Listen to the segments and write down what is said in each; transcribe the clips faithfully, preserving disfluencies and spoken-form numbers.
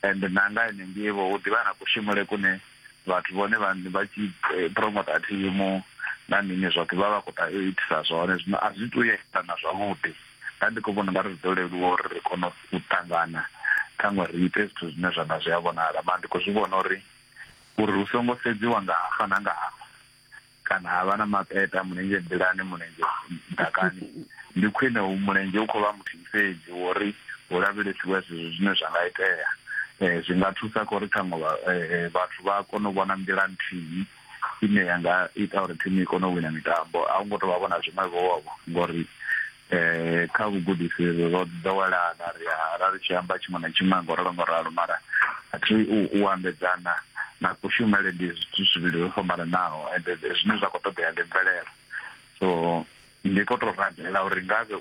Ende na nga ene ngevho hu ḓivha na kushumele kune vhathu vhone vha vha tshi promota thimu na mini zwoṱhe vha vha khou ta itisa zwone. Zwino a zwi tou yelana zwavhuḓi, nda ndi khou vhona nga ri zwi ḓo leluwa uri ri kone u ṱangana ṱhaṅwe ri ite zwithu zwine zwa nga zwi a vhonala. Mara ndi khou zwi vhona uri uri hu songo sedziwa nga hafha na nga hafha kana ha vha na mapeta mulenzhe nḓilani mulenzhe ḓakani, ndi khwine u mulenzhe u khou vha muthihi fhedzi wori hu lavhelesiwe zwithu zwine zwa nga itea. Eh, zwi nga thusa kha uri ṱhaṅwe vhathu vha kone u vhona nḓila nthihi ine ya nga ita uri thimu i kone u wina mitambo. A hu ngo tou vha vhona zwiṅwe vho ngori eh kha vhugudisi ro ḓowelana, ri a ri tshi amba tshiṅwe na tshiṅwe ngo ralo ngo ralo, mara a thi u ambedzana na kushumele ndi zwithu zwivhili zwo fhambananaho, ende zwine zwa khou ṱoḓea ndi mvelelo. So ndi khou tou rabela uri ngavhe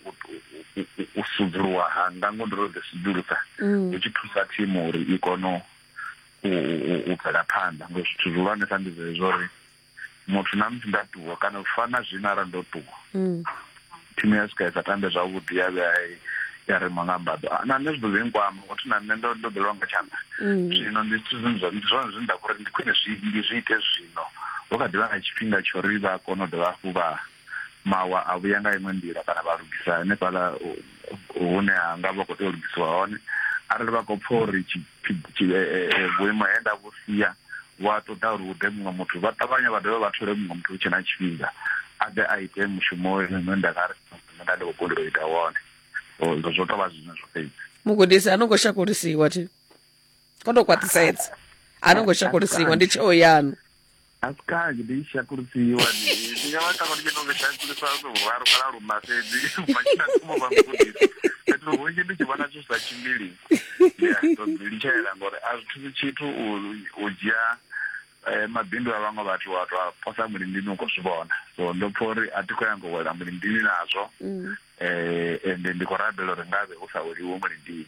u sudzuluwa hanga ngo ndi ro ḓi sudzulusa hu tshi thusa thimu uri i kone u bvela phanḓa, ngo zwithu zwihulwanesa ndi zwezwo uri muthu na musi nda ṱuwa kana u fana zwino arali ndo ṱuwa thimu ya swika i sa tambe zwavhuḓi ya vhuya ya rema nga mbaḓo, na nṋe zwi ḓo ḓi nkwama ngothi na nṋe ndo ndo ḓelwa nga tshanḓa. Zwino ndi zwithu zwine zwa ndi zwone zwine nda khou ri ndi khwine zwi ndi zwi ite zwino hu kha ḓivha na tshifhinga tsho ri vha kone u dovha hafhu vha mawa a vhuya nga iṅwe nḓila kana vha lugisa hanefhaḽa hune ha nga vha khou tea u lugisiwa hone. Arali vha khou pfha uri vhuimo he nda vhu sia vhu a ṱoḓa uri hu ḓe muṅwe muthu, vha ṱavhanya vha dovha vha thole muṅwe muthu hu tshe na tshifhinga a ḓe a ite mushumo une nda nga ri nda ndi khou kundelwa u ita wone. Zwo tou vha zwine zwo fhedzi. Mugudisi a no ngo shakulisiwa thi ko tou khwaṱhisedza, a no ngo shakulisiwa, ndi tsheo yanu. A si kanzhi ndi shakulisiwa, ndi nga vha ṱangwa ndi tshi tou shakulisa luraru kana luṋa fhedzi ubva tshi thoma vha mugudisi. Fhethu hunzhi ndi tshi vhona zwithu zwi sa tshimbili ndi a tou ḓi litshela, ngori a zwi thusi tshithu u dzhia mabindu a vhaṅwe vhathu wa tou a posa mulindini u khou zwi vhona. So ndo pfha uri a thi khou nyanga u wela mulindini nazwo, ende ndi khou rabela uri ngavhe hu sa weliwe mulindini.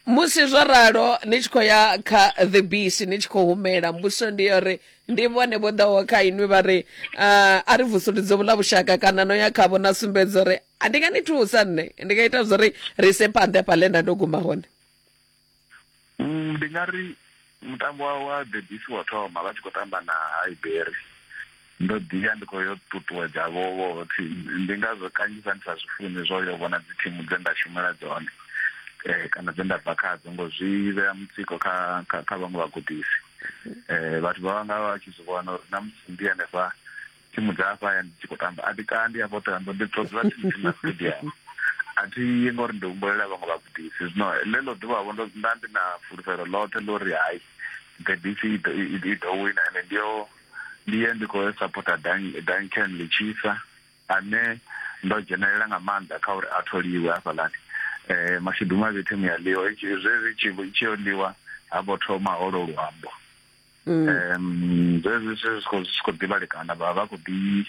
Musi zwo ralo ni tshi khou ya kha The Beast, ni tshi khou humela, mbudziso ndi ya uri ndi vhone vho ḓaho kha inwi vha ri a ri vusuludze vhuḽa vhushaka, kana no ya khavho na sumbedza uri a ndi nga ni thusa nṋe, ndi nga ita zwo ri ri ise phanḓa hafhaḽa nda ndo guma hone? Ndi nga ri mutambo wa The Beast wa thoma vha tshi khou tamba na Highbury, ndo ḓiya ndi khou yo ṱuṱuwedza vho vhoṱhe. Ndi ngazwo kanzhisa ndi sa zwi funi zwo yo vhona dzi thimu dze nda shumela dzone kana dze nda bva khadzo, ngo zwi vhea mutsiko kha kha vhaṅwe vhagudisi. Eh vhathu vha vhanga vha tshi zwi vhona uri na musi ndi hanefha thimu dza hafha hayani dzi tshi khou tamba a thi kandi hafho Ṱhohoyanḓou, ndi tou dzula thimu thimu na stadium, a thi yi ngori ndi humbulela vhaṅwe vhagudisi. Zwino ḽeḽo ḓuvha vho nda ndi na fulufhelo ḽoṱhe ḽo uri hai The Beast i ḓo wina, ende ndi yo ndi ye ndi khou sapota Duncan Lechisa ane ndo dzhenelela nga maanḓa kha uri a tholiwe hafhaḽani. Eh mashudu mavhi thimu ya ḽiwa zwezwi tshi yo ḽiwa ha vho thoma holo luambo. Um zwezwi zwi khou zwi khou ḓivhalekana, vha vha khou ḓi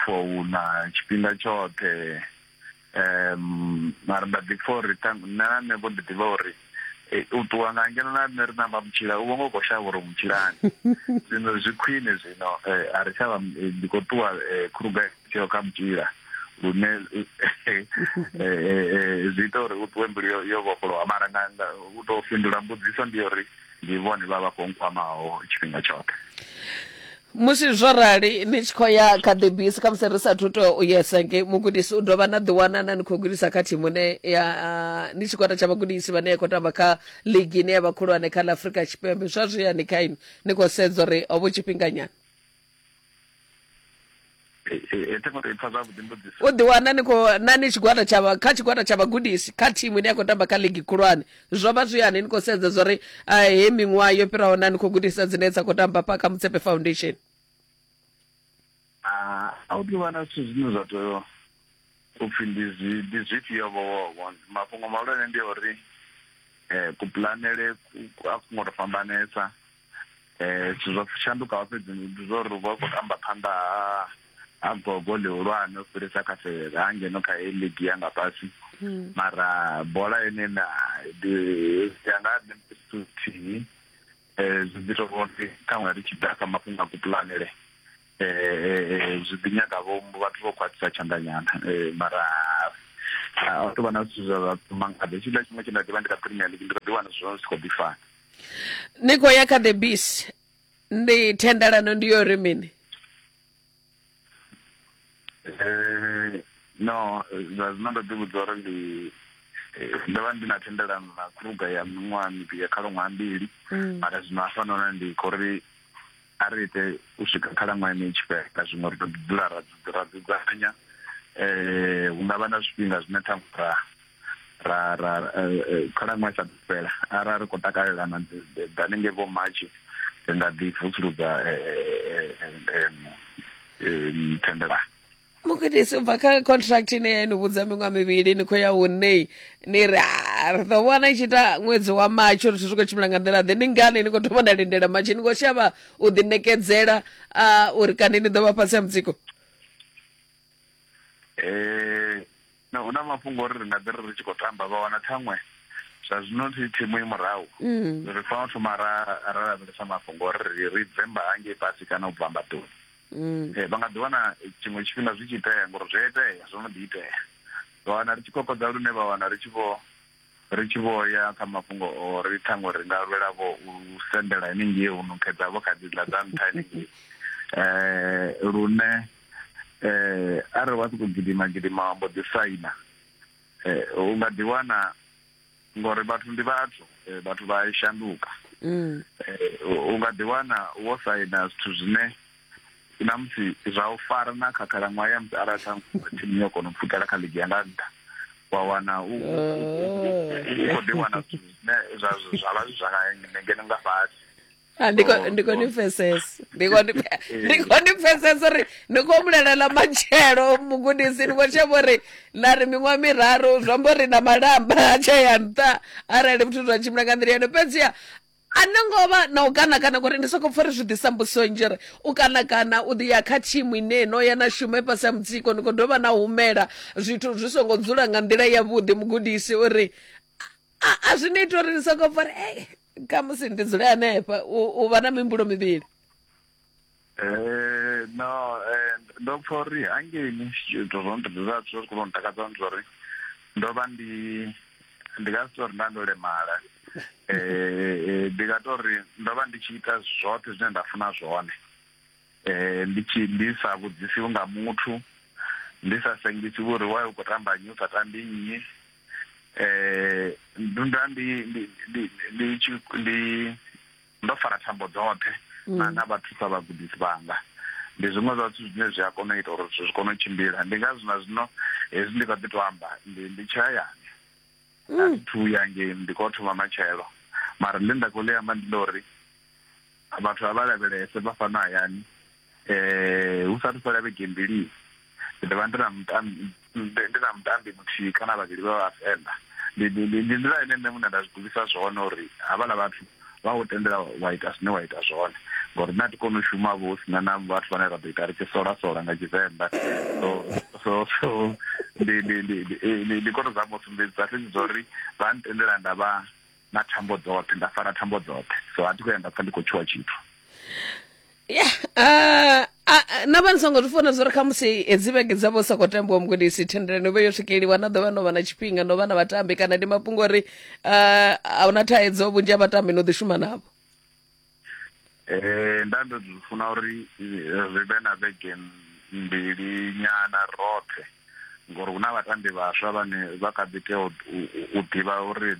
founa tshifhinga tshoṱhe. Um mara nda ḓi pfha uri nṋe na nṋe vho ndi ḓivha uri u ṱuwa nga ngeno na nṋe ri namba mutshila u vho ngo khou shavha uri mutshilani. Zwino zwi khwine zwino a ri tshavha, ndi khou ṱuwa khuruga tsheo kha mutshila lune zwi ita uri u ṱuwe mbilu yo vhofholowa. Mara nga u tou fhindula mbudziso ndi uri ndi vhone vha vha khou nkwamaho tshifhinga tshoṱhe. Musi zwo rali ni tshi khou ya kha The Beast, khamusi ri sathu tou u yesa nge mugudisi u dovha na ḓiwana na ni khou gudisa kha thimu ine ya ni tshigwada tsha vhagudisi vhane ya khou tamba kha ligi ine ya vha khulwane kha ḽa Afrika Tshipembe, zwa zwi yani kha inwi ni khou sedza uri ho vho tshifhinganyana? U ḓiwana ni khou na ni tshigwada tsha kha tshigwada tsha vhagudisi kha thimu ine ya khou tamba kha ligi khulwane, zwo vha zwi yani ni khou sedza zwa uri he miṅwaha yo fhiraho na ni khou gudisa dzine dza khou tamba pa kha Motsepe Foundation? A u ḓivha na zwithu zwine zwa tea u pfhi ndi zwi ndi zwifhio vho vho mafhungo mahulwane ndi uri kupulanele a ku ngo tou fhambanesa. Zwithu zwo shandukaho fhedzi ndi zwa uri vha khou tamba phanḓa ha ha gogo ḽihulwane u fhirisa kha ha ngeno kha heyi ligi ya nga fhasi. Mara bola ene na ya nga nṋe ndi thihi, zwi ḓi tou uri ṱhaṅwe ri tshi ḓa kha mafhungo a kupulanele zwi ḓi nyaga vho vhathu vho khwaṱhisa tshanḓa nyana. Mara A tou vha na zwithu zwa mangadza. Tshiḽa tshiṅwe tshe nda ḓivha ndi kha Premier League ndi kho ḓi wana zwithu zwi khou ḓi fana. Ni khou ya kha the Bees, ndi thendelano ndi yo ri mini? Eh, no, zwa zwino ndo ḓi vhudza uri ndi ndo vha ndi na thendelano na Kruger ya miṅwaha mivhili ya khalaṅwaha mbili, mara zwino hafhanoni ndi khou ri a ri ite u swika khalaṅwaha ine i tshi fhela, zwiṅwe ri ḓo ḓi dzula ra ra dzudzanya. Eh, hu nga vha na zwifhinga zwine ṱhaṅwe ra ra ra khalaṅwaha isa fhela arali ri khou takalelana hanengei vho March ri nga ḓi vusuludza thendelano. Mugudisi, u bva kha contract ine ya ni vhudza miṅwaha mivhili ni khou ya hune ni ri ri ḓo vhona i tshi ita ṅwedzi wa Matshi uri zwithu zwi khou tshimbila nga nḓila ḓe, ndi ngani ni khou thoma na lindela Matshi? Ni khou shavha u ḓi ṋekedzela uri kani ni ḓo vha fhasi ha mutsiko? Eh, no, hu na mafhungo uri ri nga ḓi ri ri tshi khou tamba vha wana ṱhaṅwe zwa zwino thi thimu i murahu, ri fanela u thoma ra ra lavhelesa mafhungo uri ri ri bve mba hangei fhasi kana u bva mbaḓoni. Eh, vha nga ḓi wana tshiṅwe tshifhinga zwi tshi itea ngori zwi a itea, zwo no ḓi itea, vha wana ri tshi kokodza lune vha wana ri tshi vho ri tshi vho ya kha mafhungo o ri ṱhaṅwe ri nga lwela vho u sendela haningei u nukhedza vho kha dziḽa dza nṱha haningei, eh lune eh arali wa sokou gidima gidima wa mbo ḓi saina, eh u nga ḓi wana ngori vhathu ndi vhathu, vhathu vha shanduka. U nga ḓi wana wo saina zwithu zwine na musi zwa u fara na kha khalaṅwaha ya musi arali thimu yo kona u pfukela kha ligi ya nga nṱha, wa wana u khou ḓi wana zwithu zwine zwa zwa vha zwi zwa ngeno nga fhasi. Ndi khou ndi khou ni pfesesa, ndi khou ndi khou ni pfesesa uri ni khou humbulela ḽa matshelo mugudisi, ni khou shavha uri na ri miṅwaha miraru zwi amba uri na malamba a tsha ya nṱha arali zwithu zwa tshimbila nga nḓila yone. Fhedziha a no ngo vha na u kana kana ngori ndi soko pfha uri zwi ḓisa mbudziso nnzhi uri u kana kana u ḓi ya kha thimu ine no ya na shuma i fhasi ha mutsiko, ni khou dovha na humela zwithu zwi songo dzula nga nḓila yavhuḓi mugudisi, uri a zwi ni ita uri ni soko pfha uri ei khamusi ndi dzule hanefha, u vha na mihumbulo mivhili? Eh, no, eh, ndo pfha uri hangeini zwithu zwo zwa zwi khou ntakadza ndi uri ndo vha ndi ndi nga si tori nda ndo lemala, eh ndi nga tori ndo vha ndi tshi ita zwoṱhe zwine nda funa zwone, eh ndi tshi ndi sa vhudzisiwi nga muthu, ndi sa sengisiwi uri why u khou tamba nnyi u sa tambi nnyi. Eh nda ndi ndi ndi ndi ndo fara thambo dzoṱhe na na vhathu sa vhagudisi vhanga. Ndi zwiṅwe zwa zwithu zwine zwi a kona u ita uri zwithu zwi kone u tshimbila. Ndi ngazwo na zwino hezwi ndi kha ḓi to amba ndi ndi tshi hayani, a thi thu ya ngei, ndi khou thoma matshelo, mara ḽine nda khou ḽi amba ndi ḽa uri vhathu a vha lavhelese vha fhano hayani, eh hu sathu fhela vhege mbili ndi ḓo vha ndi na mutambi ndi na mutambi muthihi kana vhavhili vha vhavenḓa. Ndi ndi nḓila ine nṋe muṋe nda zwi gudisa zwone uri havhaḽa vhathu vha u tendela wa ita zwine wa ita zwone, ngori nṋe a thi koni u shuma vho hu sina na vhathu vhane ra ḓo ita ri tshi sola sola nga Tshivenḓa. So so so ndi ndi ndi ndi ndi khou tou zama u sumbedzisa fhedzi zwa uri vha ntendela nda vha na thambo dzoṱhe, nda fara thambo dzoṱhe, so a thi khou ya nda pfha ndi khou tshuwa tshithu. Ya, uh, na vha ni songo zwi funa zwo ri khamusi hedzi vhege dza vho sa khou tambiwa mugudisi thendelano vhe yo swikeliwa na ḓovha no vha na tshifhinga no vha na vhatambi, kana ndi mafhungo uri uh, a huna thaidzo vhunzhi ha vhatambi no ḓi shuma navho? Eh nda ndo zwi funa uri ri vhe na vhege mbili nyana roṱhe, ngori hu na vhatambi vhaswa vhane vha kha ḓi tea u ḓivha uri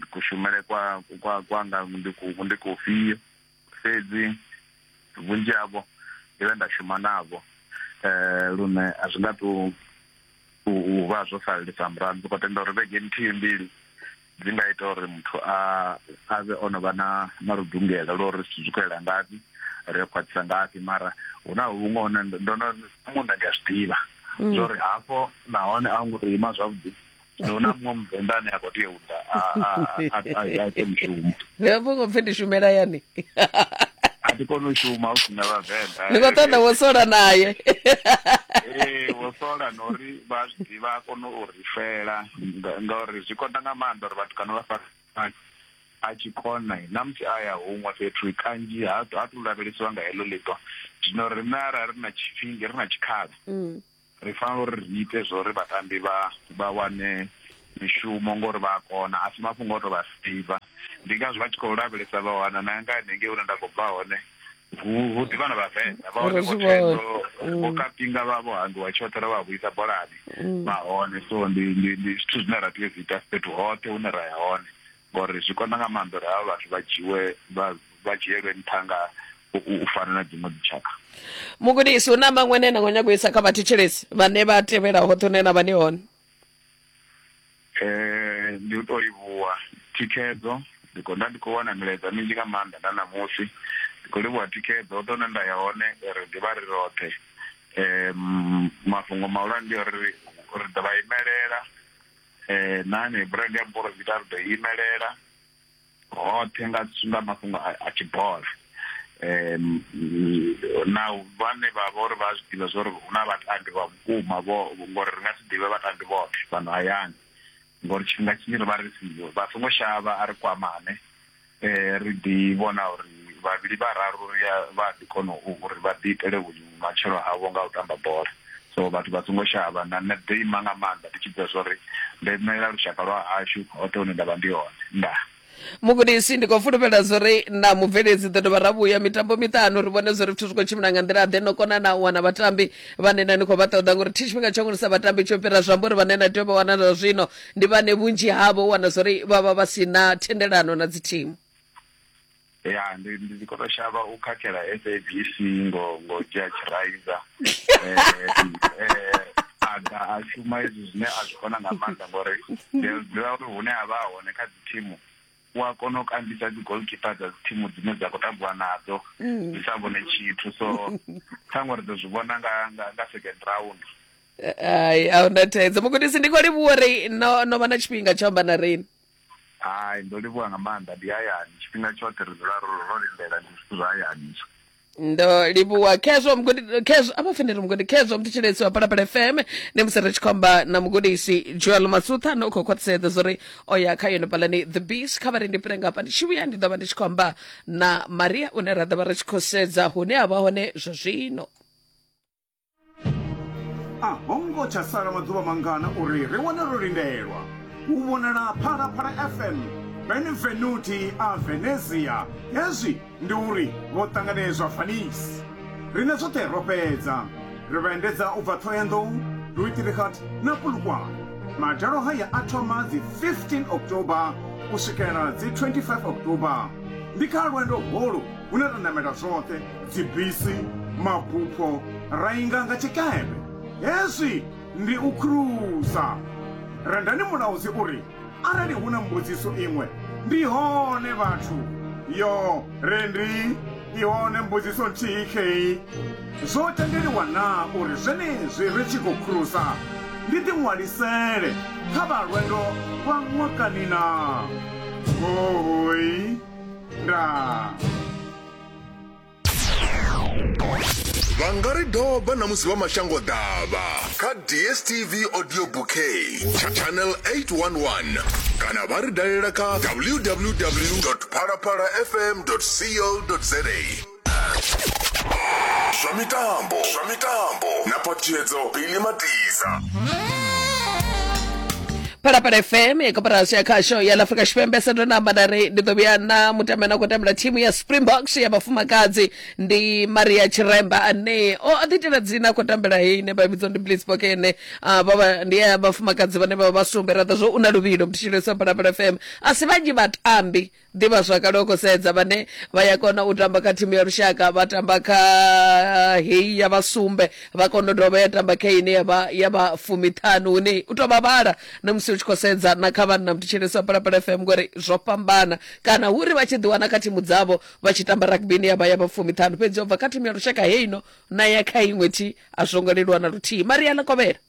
kushumele kwa kwa kwanga ndi ku ndi kufhio, fhedzi vhunzhi havho ndi vhe nda shuma navho eh lune a zwi nga tu u vha zwo salelisa murahu. Ndi khou tenda uri vhege nthihi mbili dzi nga ita uri muthu a a vhe o no vha na na ludungela lwa uri zwithu zwi khou yela ngafhi, ri khwaṱhisa ngafhi, mara hu na huṅwe hune ndo no muṋe ndi a zwi ḓivha zwo uri hafho nahone a ngo to ima zwavhuḓi, hu na muṅwe muvenḓa ane a khou tea u ḓa a a ite mushumo. Ndi mafhungo pfhi ndi shumela yani, a thi koni u shuma hu sina vhavenḓa, ni khou ṱoḓa wo sola naye. Ee, wo sola na uri vha zwi ḓivha a kone u ri fela, ngauri zwi konḓa nga maanḓa uri vhathu kana vha fara a tshi kona na musi a ya huṅwe fhethu kanzhi ha ha tu lavhelesiwa nga heḽo ḽiṱo. Zwino riṋe arali ri na tshifhinga ri na tshikhala Ri fanela uri ri ite zwo ri vhatambi vha vha wane mishumo ngori vha kona, a si mafhungo o to vha seiva. Ndi ngazwo vha tshi khou lavhelesa vha wana na nga hanengei hune nda khou bva hone hu ḓivha na Vhavenḓa vha hone, vho Thendo, vho Kapinga vha vho hangiwa tshoṱhe ra vha vhuisa bolani vha hone. So ndi ndi ndi zwithu zwine ra tea u zwi ita fhethu hoṱhe hune ra ya hone, ngori zwi konḓa nga maanḓa uri havha vhathu vha dzhiwe vha vha dzhielwe nṱha nga u fana na dziṅwe dzitshaka. Mugudisi, hu na maṅwe ane na khou nyaga u isa kha vhathetshelesi vhane vha tevhela hoṱhe hune na vha ni hone? Eh, ndi u tou livhuwa thikhedzo. Ndi khou nda ndi khou wana milaedza minzhi nga maanḓa na ṋamusi. Ndi khou livhuwa thikhedzo hoṱhe hune nda ya hone, ri ḓivha ri roṱhe. Um mafhungo mahulwane ndi uri ri ḓo vha imelela, eh na hanei brand ya Mporofita ri ḓo imelela hoṱhe nga nga mafhungo a tshibola. Um na vhane vha vha uri vha zwi ḓivha zwa uri hu na vhatambi vha vhukuma vho, ngori ri nga si ḓivhe vhatambi vhoṱhe fhano hayani, ngori tshifhinga tshinzhi ri vha ri siho. Vha songo shavha, a ri kwamane, eh ri ḓi vhona uri vhavhili vhararu ri vha ḓi kona uri vha ḓi itele vhumatshelo havho nga u tamba bola. So vhathu vha songo shavha, na nṋe ḓo ima nga maanḓa ndi tshi ḓivha zwa uri ndo imelela lushaka lwa hashu hoṱhe hune nda vha ndi hone. Ndaa. Mugudisi, ndi khou fulufhela zwori na mubveledzi ḓo dovha ra vhuya mitambo miṱanu ri vhone zwori zwithu zwi khou tshimbila nga nḓila ḓe, no kona na u wana vhatambi vhane na ni khou vha ṱoḓa, ngori thi tshifhinga tsho ngorisa vhatambi tsho fhira zwi amba uri vhane na tea u vha wana zwa zwino ndi vhane vhunzhi havho u wana zwori vha vha vha si na thendelano na dzi thimu. Ya, ndi ndi khou tou shavha u khakhela S A B C ngo ngo dzhia tshiraiza eh eh a ḓa a shuma izwi zwine a zwi kona nga maanḓa, ngori ndi ḓivha uri hune a vha hone kha dzi thimu u a kona u kambisa dzi goalkeeper dza dzi thimu dzine dza khou tambiwa nadzo dzi sa vhone tshithu. So ṱhaṅwe ri ḓo zwi vhona nga nga nga second round. Ai, a huna thaidzo. Mugudisi, ndi khou livhuwa uri no no vha na tshifhinga tsha amba na riṋe. Hai, ndo livhuwa nga maanḓa, ndi hayani tshifhinga tshoṱhe ri dzula ro lindela, ndi zwithu zwa hayani izwo. Ndo livhuwa khezwo mugudi, khezwo a vha faneli mugudi, khezwo mthetshelesi wa Phalaphala F M. Ndi musi ri tshi khou amba na mugudisi Joel Masutha, no khou khwaṱhisedza zwori o ya kha yone palani The Beast. Kha vha ri ndi fhire ngafha, ndi tshi vhuya ndi ḓo vha ndi tshi khou amba na Maria une ra ḓo vha ri tshi khou sedza hune a vha hone zwa zwino. A hongo tsha sala maḓuvha mangana uri ri wane ro lindelwa u vhonala Phalaphala F M Benvenuti a Venezia. Hezwi ndi uri vho ṱanganedzwa Venice. Riṋe zwoṱhe ro fhedza, ri vha endedza u bva Thohoyandou, Luitrigat na Polokwane. Madalo haya a thoma dzi fifteen October u swikela dzi twenty-five October. Ndi kha lwendo holu hune ra namela zwoṱhe, dzibisi, mabupho, ra inga nga tshikepe. Hezwi ndi u cruisa. Rendani mulaudzi uri arali hu na mbudziso iṅwe ndi hone vhathu. Yo rendi i hone mbudziso nthihi khei. Zwo tendeliwa na uri zwenezwi ri tshi khou cruisa ndi ḓiṅwalisele kha vha lwendo lwa ṅwakani na? Hoi ndaa. Vha nga ri doba na musi vha mashango ḓavha kha D S T V Audio Bouquet channel eight one one, kana vha ri dalela kha w w w dot phalaphala f m dot co dot z a. Zwa mitambo, zwa mitambo na Phaṱhutshedzo Billy Matisa. Phalaphala F M ya koporasi ya khasho ya Afrika Tshipembe. Sa ndo namba nda ri ndi ḓo vhuya na mutambi ane a khou tambela thimu ya Springboks ya vhafumakadzi, ndi Maria Tshiremba ane o ḓiitela dzina, a khou tambela heyi ine vha vhidza ndi Blitzbok ene vha ndi ya vhafumakadzi vhane vha vha sumbe. Ra ḓo zwo u na luvhilo mthetshelesi wa Phalaphala F M. A si vhanzhi vhatambi ḓivha zwakale o khou sedza vhane vha ya kona u tamba kha thimu ya lushaka, vha tamba kha heyi ya vhasumbe, vha kona u dovha ya tamba kha ine ya vha ya vha fumiṱhanu, hune u tou vha vhala na musi u tshi khou sedza na kha vhanna mthetshelesi wa Phalaphala F M, ngori zwo fhambana. Kana hu ri vha tshi ḓiwana kha thimu dzavho vha tshi tamba rugby ine ya vha ya vha fumiṱhanu, fhedzi o bva kha thimu ya lushaka heino na ya kha iṅwe thi a zwo ngo leluwa na luthihi. Maria Ḽakovhela.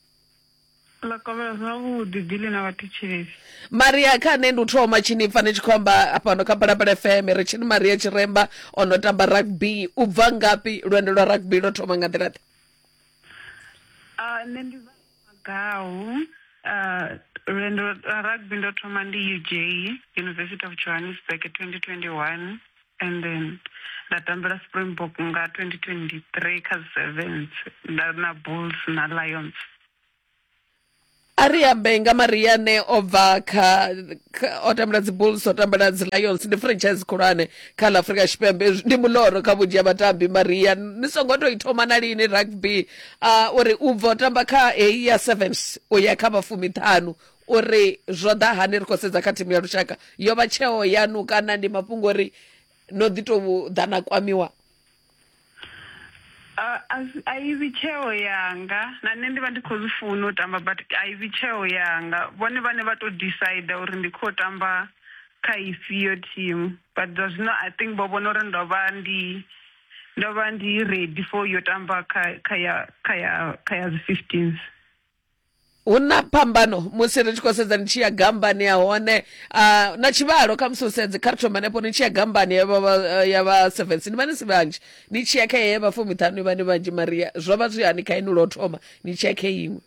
Ḽakovhela zwavhuḓi Bili na vhathetshelesi. Maria, kha nṋe ndi u thoma tshini pfa ni tshi khou amba fhano kha Phalaphala F M, ri tshini Maria Tshiremba o no tamba rugby. U bva ngafhi? Lwendo lwa rugby lwo thoma nga nḓila ḓe? Nṋe ndi bva Magau. Lwendo lwa rugby ndo thoma ndi U J, University of Johannesburg, twenty twenty-one. And then nda tambela Springbok nga twenty twenty-three kha sevens nda na Bulls na Lions. A ri ambe nga Maria ne o bva kha o tambela dzi Bulls, o tambela dzi Lions, ndi franchise khulwane kha ḽa Afrika Tshipembe, ndi muloro kha vhunzhi ha vhatambi. Maria, ni songo to i thoma na lini rugby, uh, uri u bva u tamba kha heyi ya sevens u ya kha vha fumiṱhanu, uri zwo ḓa hani ri khou sedza kha thimu ya lushaka, yo vha tsheo yanu kana ndi mafhungo uri no ḓi tou ḓa na kwamiwa? A i vhi tsheo yanga, na nṋe ndi vha ndi khou zwi funa u tamba, but a i vhi tsheo yanga. Vhone vhane vha to decide uri ndi khou tamba kha ifhio team, but zwa zwino I think vho vhona uri ndo vha ndi ndo vha ndi ready for yo tamba kha kha ya kha ya kha ya dzi fifteens. Hu na phambano musi ri tshi khou sedza ni tshi ya gambani ya hone, uh, na tshivhalo kha musi u sedze kha ri thome hanefho, ni tshi ya gambani ya vha ya vha sevens ni vha ni si vhanzhi, ni tshi ya kha heyi ya vha fumiṱhanu ni vha ni vhanzhi. Maria, zwo vha zwi hani kha inwi lwo thoma ni tshi ya kha iṅwe?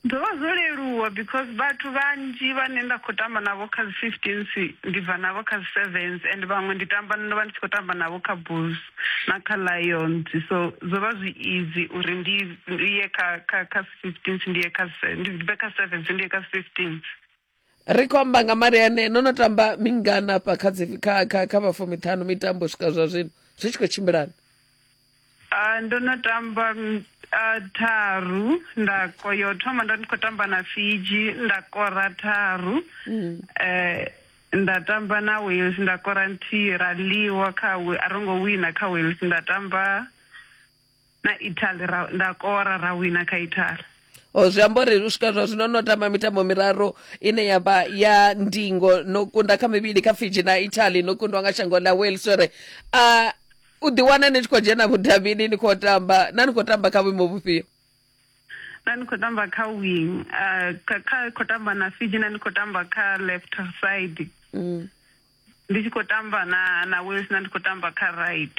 Zwo vha zwo leluwa because vhathu vhanzhi vhane nda khou tamba navho kha dzi fifteens ndi bva navho kha dzi sevens, and vhaṅwe ndi tamba ndo vha ndi tshi khou tamba navho kha Bulls na kha Lions, so zwo vha zwi easy uri ndi ye kha kha kha fifteens, ndi ye kha ndi bve kha sevens ndi ye kha fifteens. Ri khou amba nga Maria ne no no tamba mingana hafha kha dzi kha kha kha vha fumiṱhanu mitambo swika zwa zwino zwi tshi khou tshimbilana? Uh, ndo no tamba uh, tharu, nda yo thoma ndo ndi khou tamba na Fiji nda kora tharu, mm. eh, nda tamba na Wales nda kora nthihi, ra ḽiwa kha a ro ngo wina kha Wales, nda tamba na Italy ra, nda kora ra wina kha Italy. O zwi amba uri u swika zwa zwino no tamba mitambo miraru ine ya vha ya ndingo, no kunda kha mivhili kha Fiji na Italy, no kundwa nga shango ḽa Wales. Uri uh, u ḓi wana ni tshi khou dzhena vhudavhini ni khou tamba, na ni khou tamba kha vhuimo vhufhio? Na ni khou tamba kha wing, uh, kha khou tamba na Fiji, na ni khou tamba kha left side, mm. ndi tshi khou tamba na na Wales, na ndi khou tamba kha right,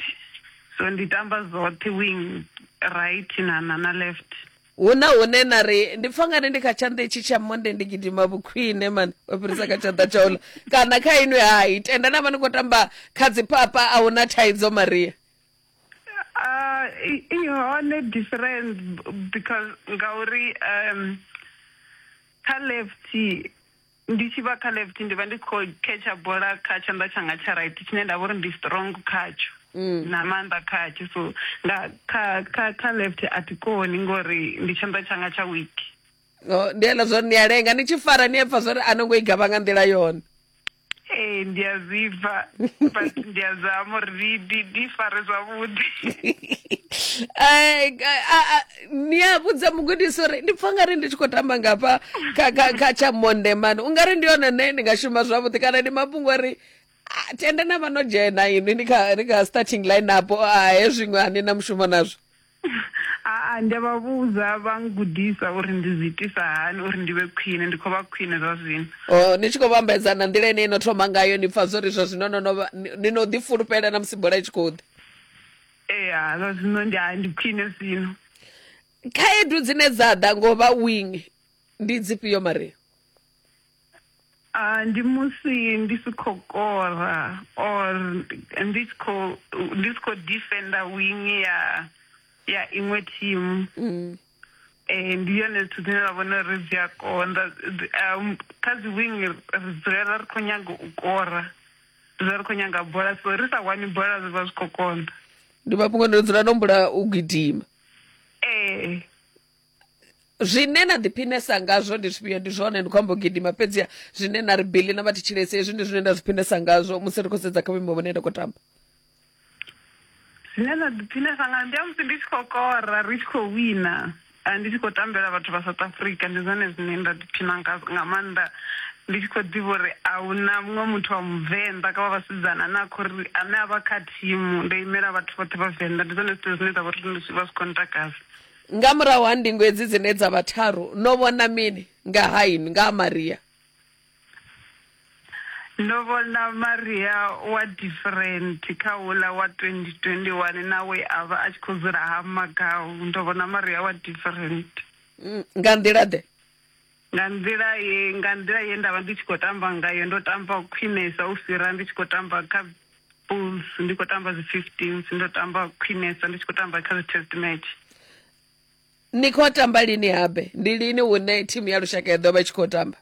so ndi tamba zwoṱhe wing, right na na, na left. Huna hune na ri ndi pfa ngari ndi kha tshanḓa itshi tsha monde ndi gidima vhukhwine mani u fhirisa kha tshanḓa tsha uḽa, kana kha inwi hai tenda na vha ni khou tamba kha dziphapha a huna thaidzo? Maria, Uh, i hone different because ngauri um kha left ndi tshi vha kha left ndi vha ndi khou catcha bola kha tshanḓa tshanga tsha right tshine nda vha uri ndi strong khatsho, mm. na maanḓa khatsho, so nga kha kha kha left a thi koni ngori ndi tshanḓa tshanga tsha weak. Oh, ndi hela zwo ni a lenga ni tshi fara ni a pfa zwori a no ngo i gavha nga nḓila yone. Ee, ndi a zwi pfa, but ndi a zama uri ndi ndi fare zwavhuḓi. Eh, ni a vhudza mugudisi uri ndi pfa ngari ndi tshi khou tamba ngafha kha kha kha tsha monde mani, u ngari ndi yone nṋe ndi nga shuma zwavhuḓi, kana ndi mafhungo uri tenda na vha no dzhena inwi ni kha ni kha starting line up, a hezwi zwiṅwe a ni na mushumo nazwo? A ndi a vha vhudza vha ngudisa uri ndi zwi itisa hani uri ndi vhe khwine, ndi khou vha khwine zwa zwino. O ni tshi khou vhambedza na nḓila ine ino thoma ngayo ni pfa zwori zwa zwino no no ni no ḓi fulufhela na musi bola i tshi khou ḓa? Ee, zwa zwino ndi ndi khwine zwino. Khaedu dzine dza ḓa ngo vha wing ndi dzifhio, Maria? Uh, ndi musi ndi si khou kora or ndi tshi khou ndi si khou defender wing ya ya iṅwe team. Mm. Eh, ndi yone zwithu zwine ra vhona uri zwi a konḓa. Kha dzi wing ri dzulela ri khou nyaga u kora, ri dzula ri khou nyaga bola, so ri sa wani bola zwi vha zwi khou konḓa. Ndi mafhungo ndo dzula no humbula u gidima. Ee. Zwine na ḓiphinesa ngazwo ndi zwifhio? Ndi zwone ndi khou amba u gidima, fhedziha zwine na ri bili na vha thetshelesi hezwi ndi zwine nda zwi phinesa ngazwo musi ri khou sedza kha vhuimo vhune nda khou tamba. Zwine nda ḓiphinesa nga ndi musi ndi tshi khou kora ri tshi khou wina, ndi tshi khou tambela vhathu vha South Africa, ndi zwone zwine nda ḓiphina nga maanḓa, ndi tshi khou ḓivha uri a huna muṅwe muthu wa muvenḓa kha vha vhasidzana ane a khou ri ane a vha kha thimu, ndo imela vhathu vhoṱhe vha Venḓa, ndi zwone zwithu zwine zwa vha uri zwi vha zwi khou ntakadza. Nga murahu ha ndingo hedzi dzine dza vha tharu, no vhona mini nga ha inwi, nga ha Maria? Ndo vhona Maria wa different kha uḽa wa twenty twenty-one na we a vha a tshi khou dzula ha Magau. Ndo vhona Maria wa different. Nga nḓila ḓe? Nga nḓila ye nga nḓila ye nda vha ndi tshi khou tamba ngayo ndo tamba khwinesa u fhira ndi tshi khou tamba kha Bulls, ndi khou tamba dzi fifteens, ndo tamba khwinesa ndi tshi khou tamba kha dzi test match. Ni khou tamba lini habe? Ndi lini hune thimu ya lushaka ya ḓo vha i tshi khou tamba?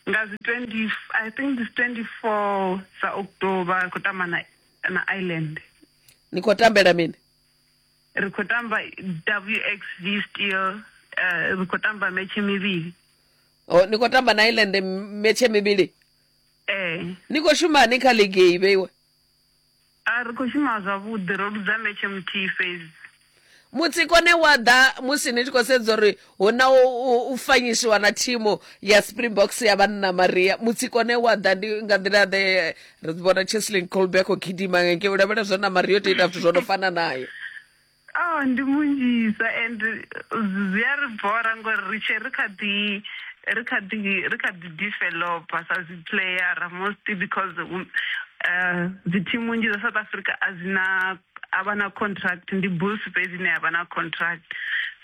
Nga dzi twenty, I think this twenty-four sa October ri khou tamba na, na Ireland. Ni khou tambela mini? Ri khou tamba W X V Steel, uh, ri khou tamba match mivhili. Oh, ni khou tamba na Ireland match mivhili? Eh. Ni khou shuma hani kha league iyi vheiwe? A ri khou shuma zwavhuḓi, ro ludza match muthihi fhedzi. Mutsiko ne wa ḓa musi ni tshi khou sedza uri hu na u fanyisiwa na thimu ya Springboks ya vhanna Maria, mutsiko ne wa ḓa ndi nga nḓila ḓe? Ri vhona Cheslin Kolbe khou gidima ngei, u lavhelesa na Maria o tou ita zwithu zwo no fana naye. Oh, ndi munzhisa and zwi a ri bora ngori ri tshe ri kha ḓi ri kha ḓi ri kha ḓi developer sa dzi player mostly because uh, dzi thimu nnzhi dza South Africa a dzi na a vha na contract, ndi Bulls fhedzi ine ya vha na contract.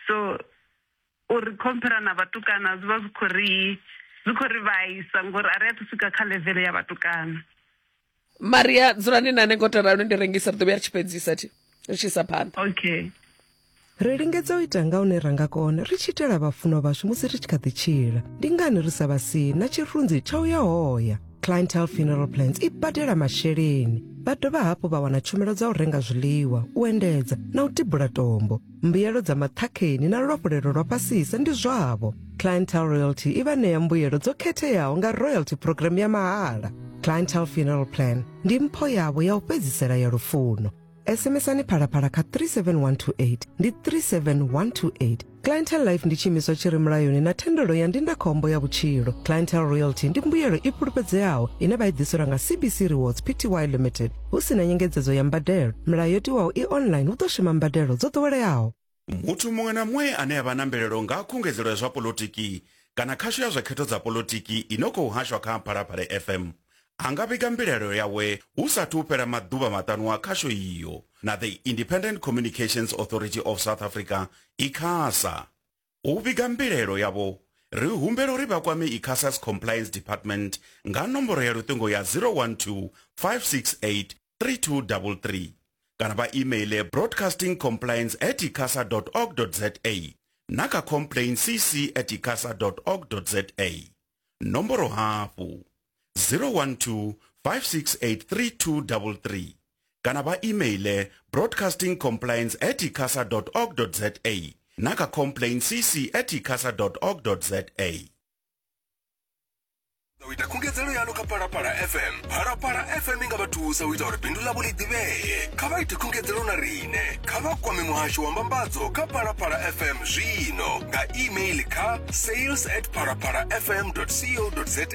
So uri compare na vhatukana zwi vha zwi khou ri zwi khou ri vhaisa ngori a ri athu swika kha level ya vhatukana. Maria, dzulani na nṋe ngo to ralo ndi rengisa, ri ḓo vhuya ri tshi fhedzisa thi ri tshi isa phanḓa. Okay. Ri lingedza u ita nga hune ra nga kona ri tshi itela vhafunwa vhashu musi ri tshi kha ḓi tshila. Ndi ngani ri sa vha sii na tshirunzi tsha u ya hoya? Clientele Funeral Plans i badela masheleni. Vha dovha hafhu vha wana tshumelo dza u renga zwiḽiwa, u endedza na u tibula tombo. Mbuyelo dza maṱhakheni na luafhulelo lwa fhasisa ndi zwavho. Clientele Royalty i vha ṋea mbuyelo dzo khetheaho nga royalty program ya mahala. Clientele Funeral Plan ndi mpho yavho ya u fhedzisela ya lufuno. S M S-ani Phalaphala kha three seven one two eight ndi three seven one two eight. Clientele Life ndi tshiimiswa tshi re mulayoni na thendelo ya ndindakhombo ya vhutshilo. Clientele Royalty ndi mbuyelo i fhulufhedzeaho ine vha i ḓiselwa nga C B C Rewards P T Y Limited hu si na nyengedzedzo ya mbadelo. Milayo yo tiwaho i online hu ḓo shuma mbadelo dzo ḓoweleaho. Muthu muṅwe na muṅwe ane a vha na mbilaelo nga khungedzelo ya zwa polotiki kana khasho ya zwa khetho dza polotiki ino khou hashwa kha Phalaphala F M a nga vhiga mbilaelo yawe hu sathu fhela maḓuvha maṱanu a khasho iyo na the Independent Communications Authority of South Africa ICASA. U vhiga mbilaelo yavho ri humbela uri vha kwame ICASA's Compliance Department nga nomboro ya luṱingo ya zero one two, five six eight, three two three three kana vha emaile broadcasting compliance at icasa dot org dot za na kha complaint c c at icasa dot org dot za. Nomboro hafhu zero one two, five six eight, three two three three kana vha emaile broadcasting compliance at icasa dot org dot za na kha complaint c c at icasa dot org dot za. U ita khungedzelo yanu kha Phalaphala F M. Phalaphala F M i nga vha thusa u ita uri bindu ḽavho ḽi ḓivhee. Kha vha ite khungedzelo na riṋe. Kha vha kwame muhasho wa mbambadzo kha Phalaphala F M zwino nga email kha sales at phalaphala f m dot co dot za.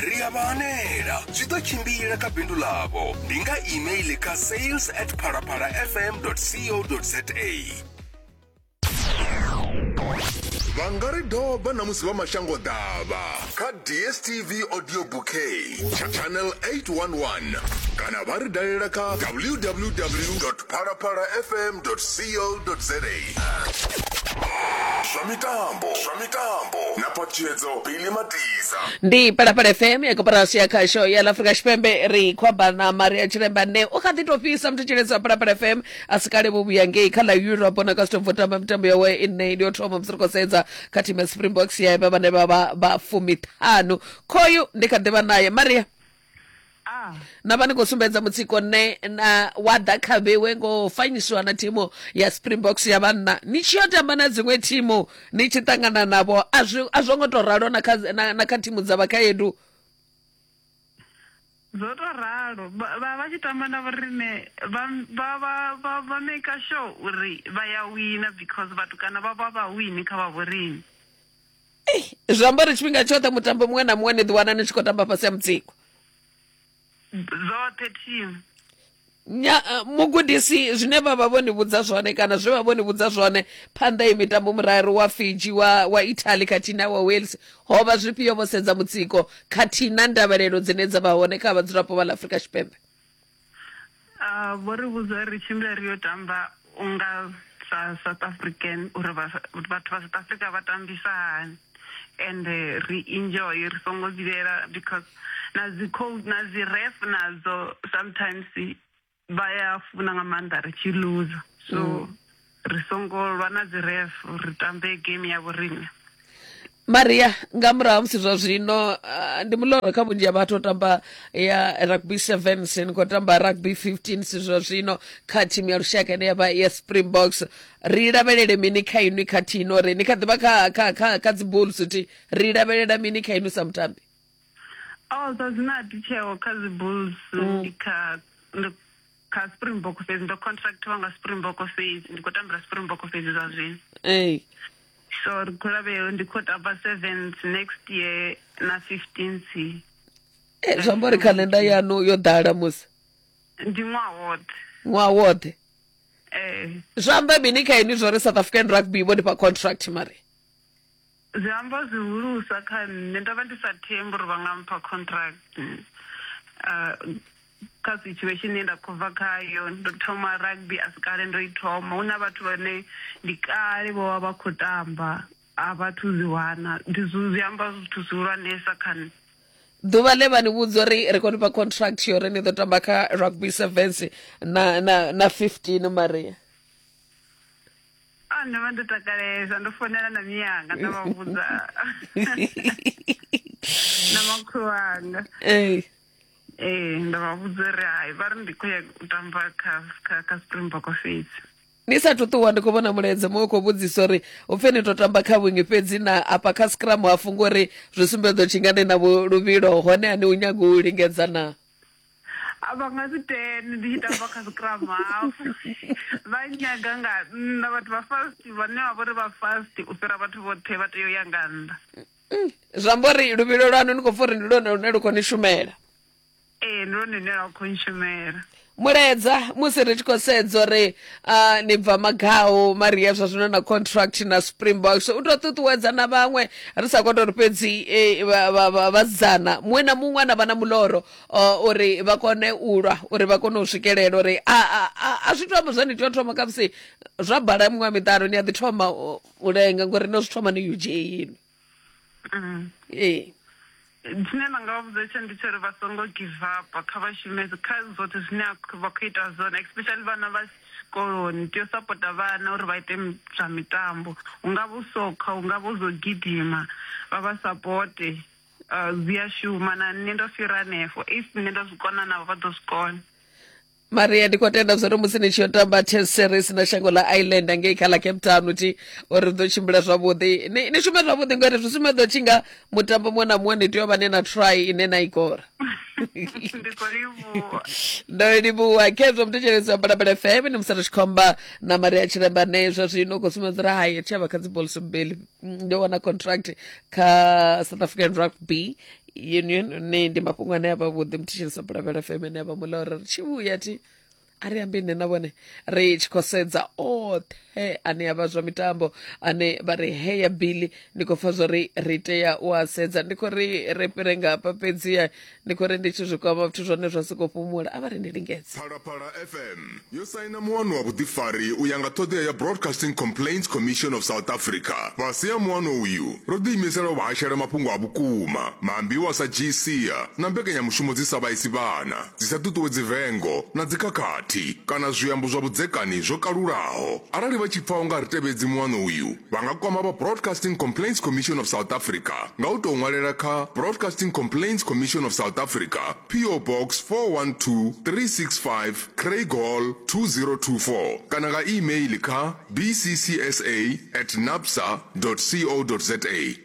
Ri a vha hanela, zwi ḓo tshimbila kha bindu ḽavho. Ndi nga email kha sales at phalaphala f m dot co dot za. Vha nga ri doba na musi vha mashango ḓavha kha D S T V Audio Bouquet channel eight one one kana vha ri dalela kha w w w dot phalaphala f m dot co dot za. Zwa mitambo, zwa mitambo na phatshedzo Billy Matiza. Ndi Phalaphala F M ya koporasi ya khasho ya Afrika Tshipembe. Ri khou amba na Maria Tshilemba ne u kha ḓi tou fhisa muthetshelesi wa Phalaphala F M a si kale vho vhuya ngei kha ḽa Europe na ka u tamba mitambo yawe ine ndi yo thoma musi ri khou sedza kha thimu ya Springboks ya vha vhane vha vha vha fumiṱhanu. Khoyu ndi kha ḓivha naye Maria. Ah. Na vha ni khou sumbedza mutsiko ne na wa ḓa kha vhewe ngo fanyisiwa na thimu ya Springboks ya vhanna ni tshi yo tamba na dziṅwe thimu ni tshi ṱangana navho a zwi a zwo ngo to ralo na kha na, na kha thimu dza vhakhaedu? Zwo to ralo vha vha tshi tamba na vhorine vha vha vha vha make sure uri vha ya wina because vhatukana vha vha vha wini kha vha vhorine. Zwi amba uri tshifhinga tshoṱhe mutambo muṅwe na muṅwe ni ḓi wana ni tshi khou tamba fhasi ya mutsiko zwoṱhe team. Nya mugudisi zwine vha vha vho ni vhudza zwone kana zwe vha vho ni vhudza zwone phanḓa i mitambo muraru wa Fiji wa wa Italy khathihi na wa Wales ho vha zwifhio vho sedza mutsiko khathihi na ndavhelelo dzine dza vha hone kha vhadzulapo vha ḽa Afrika Tshipembe? Ah, vho ri vhudza ri tshimbila ri yo tamba unga sa South African uri vhathu vha South Africa vha tambisa hani. and ri enjoy, ri songo vhilela, because na dzi coach na dzi ref nadzo sometimes vha ya funa nga maanḓa ri tshi lose, so mm. ri songo lwa na dzi ref, ri tambe game ya vhoriṋe. Maria, nga murahu ha musi zwa zwino uh, ndi muloro kha vhunzhi ha vhathu u tamba ya rugby sevens, ni khou tamba rugby fifteens zwa zwino kha thimu ya lushaka ine ya vha ya Springboks. Ri lavhelele mini kha inwi khathihi no uri ni kha ḓivha kha kha kha kha dzi Bulls, ti ri lavhelela mini kha inwi sa mutambi? Oh, zwa zwino a thi tsheo kha dzi Bulls, ndi kha ndi kha Springbok fhedzi, ndo contractiwa nga Springbok fhedzi, ndi khou tambela Springbok fhedzi zwa zwino. Ee. So ri khou lavhelela, ndi khou tamba sevens next year na fifteens. Eh, zwi amba uri khalenda yanu yo ḓala musi? Ndi ṅwaha woṱhe. Ṅwaha woṱhe. Eh. Zwi amba mini kha inwi zwo ri South African Rugby vho nifha contract, Maria? Zwi amba zwihulusa kha nṋe, ndo vha ndi sa thembi uri vha nga mpha contract. Uh, kha situation ine nda khou bva khayo, ndo thoma rugby a si kale ndo i thoma, hu na vhathu vhane ndi kale vho vha vha khou tamba a vhathu zwi wana, ndi zwi amba zwithu zwihulwanesa kha nṋe. Ḓuvha ḽe vha ni vhudza uri ri khou nifha contract yo uri ni ḓo tamba kha rugby sevens na na na fifteen, Maria? A ndo vha ndo takalesa, ndo founela na miyanga nda vha vhudza na makhulu wanga. Ee. Ee, ndo vha vhudza uri hai, vha ri ndi khou ya u tamba kha kha kha Springbok fhedzi. Ni sathu ṱuwa ndi khou vhona mulaedza muṅwe khou vhudzisa uri upfhi ni to tamba kha wing fhedzi na afha kha scrum hafu, ngori zwi sumbedza tshi nga ni na luvhilo hone a ni u nyaga u lingedza na? A vha nga si tende ndi tshi tamba kha scrum half, vha nyaga nga nnḓa, vhathu vha fast vhane vha vhori vha fast u fhira vhathu vhoṱhe vha tea u ya nga nnḓa. Zwi amba uri luvhilo lwanu ni khou pfha uri ndi lwone lune lu khou ni shumela? Ee, ndi lwone lune lwa khou nshumela. Mulaedza musi ri tshi khou sedza uri uh, ni bva Magau, Maria, zwa zwino na contract na Springboks, u tou ṱuṱuwedza na vhaṅwe, ri sa khou tou ri fhedzi vhasidzana, muṅwe na muṅwe ana vha na muloro uh, uri vha kone u lwa, uri vha kone u swikelela, uri a a a zwi to amba zwa ni tea u thoma khamusi zwa bala miṅwaha miṱanu, ni a ḓi thoma u lenga ngori no zwi thoma ni U J inwi. Ee. Tshine nda nga vha vhudza tsho ndi tsho uri vha songo give up, kha vha shume kha zwoṱhe zwine vha khou ita zwone, especially vhana vha tshikoloni, tea u sapota vhana uri vha ite zwa mitambo, hu nga vha u sokha, hu nga vha u zwo gidima, vha vha sapote, zwi a shuma. Na nṋe ndo fhira hanefho, if nṋe ndo zwi kona navho vha ḓo zwi kona. Maria, ndi khou tenda zwori musi ni tshi yo tamba test series na shango ḽa Ireland ngei kha ḽa Cape Town ti uri ḓo tshimbila zwavhuḓi, ni, ni shume zwavhuḓi ngori zwi sumbedza tshi nga mutambo muṅwe na muṅwe ni tea u vha ni na try ine na i kora. Ndi khou livhuwa. Ndo livhuwa. Khezwo muthetshelesi wa Phalaphala F M, ni Musanda Tshikhomba na Maria Tshiremba ne zwa zwino khou sumbedza uri hai thi a vha kha dzi Bulls mbili, ndo wana contract kha South African Rugby Union. Ne ndi mafhungo ane a vha vhuḓi muthetshelesi wa Phalaphala F M, ane a vha muḽa uri ri tshi vhuya thi a ri ambe nṋe na vhone ri tshi khou sedza oṱhe ane a vha zwa mitambo ane vha ri heya bili, ndi khou pfa zwori ri tea u a sedza. Ndi khou ri ri fhire nga hafha fhedziha ndi khou ri ndi tshi zwi kwama zwithu zwone zwa sokou fhumula, a vha ri ndi lingedze. Phalaphala F M yo saina muano wa vhuḓifari u ya nga ṱhoḓea ya Broadcasting Complaints Commission of South Africa. Fhasi ha muano uyu ro ḓiimisela u vha hashela mafhungo a vhukuma, maambiwa sa G C na mbekanyamushumo dzi sa vhaisi vhana, dzi sa ṱuṱuwedzi vengo na dzikhakhathi kana zwiambo zwa vhudzekani zwo kalulaho. Arali vha tshi pfa u nga ri tevhedzi muano uyu, vha nga kwama vha Broadcasting Complaints Commission of South Africa nga u tou ṅwalela kha Broadcasting Complaints Commission of South Africa, P O Box four one two three six five, Craig Hall two zero two four, kana nga email kha b c c s a at napsa dot co dot za.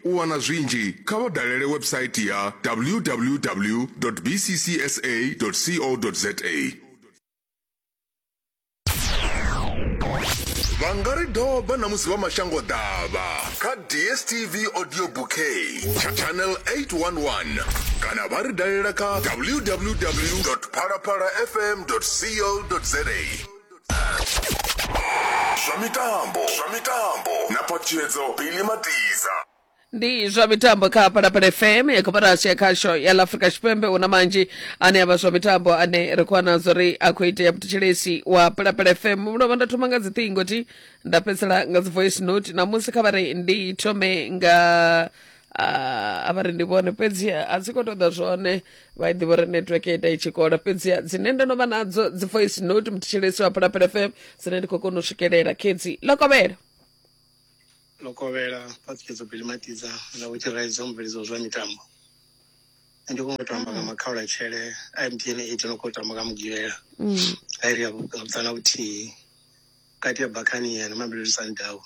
U wana zwinzhi kha vha dalele website ya w w w dot b c c s a dot co dot za. Vha nga ri doba na musi vha mashango ḓavha kha D S T V Audio Bouquet channel eight one one, kana vha ri dalela kha w w w dot phalaphala f m dot co dot za. Zwa mitambo, zwa mitambo na Phatshedzo Billy Matiza. Ndi zwa mitambo kha Phalaphala F M ya koporasi ya khasho ya ḽa Afrika Tshipembe. Una manzhi ane a vha zwa mitambo ane ri khou wana zwori a khou itea muthetshelesi wa Phalaphala F M. Mulovha nda thoma nga dziṱhingo thi nda fhedzisela nga dzi voice note. Namusi kha vha ri ndi thome nga A vha ri ndi vhone, fhedzi a dzi khou ṱoḓa zwone, vha i ḓivha uri network ita i tshi kola. Fhedzi dzine ndo no vha nadzo dzi voice note muthetshelesi wa Phalaphala F M dzine ndi khou kona u swikelela khedzi ḽo Ḽo kovhela Phaṱhutshedzo Billy Matidza na Vho Tshiraidza mubveledzi wa zwa mitambo. Ndi khou tamba nga makhaulatshele a M T N eight no khou tamba nga Mugivhela a iri ya vhuṱanu na vhuthihi vhukati ha Buccaneer na Mamelodi Sundowns.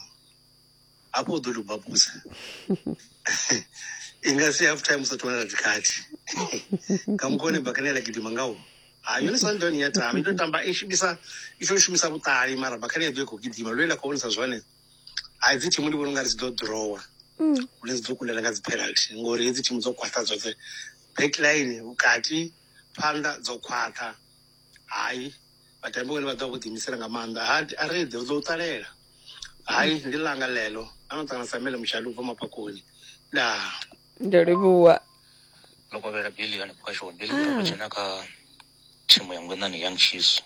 Hafho u ḓo tou babusa i nga si half time usathu wana dzikhadi nga mukho une Buccaneer ḽa gidima ngawo. Hai, yone Sundowns ya tamba i to tamba i shumisa i to shumisa vhuṱali, mara Buccaneer ḓo i khou gidima lwe ḽa khou vhonisa zwone. Hai, dzi thimu ndi vhona ungari dzi ḓo drawa hune dzi ḓo kundela nga dzi penalty, ngori hedzi thimu dzo khwaṱha dzoṱhe, backline vhukati phanḓa dzo khwaṱha. Hai, vhatambi vhone vha ḓo vha vho ḓiimisela nga maanḓa. Ha a ri ḓo ḓo ṱalela. Hai, ndi langa ḽeḽo ano ṱangana Samuel Mushali ubva Mapakoni. Ndaa. Ndo livhuwa. Ḽo kovhela Billy hanefho kha show. Billy u dzhena kha thimu ya Ngwenani Young Chiefs.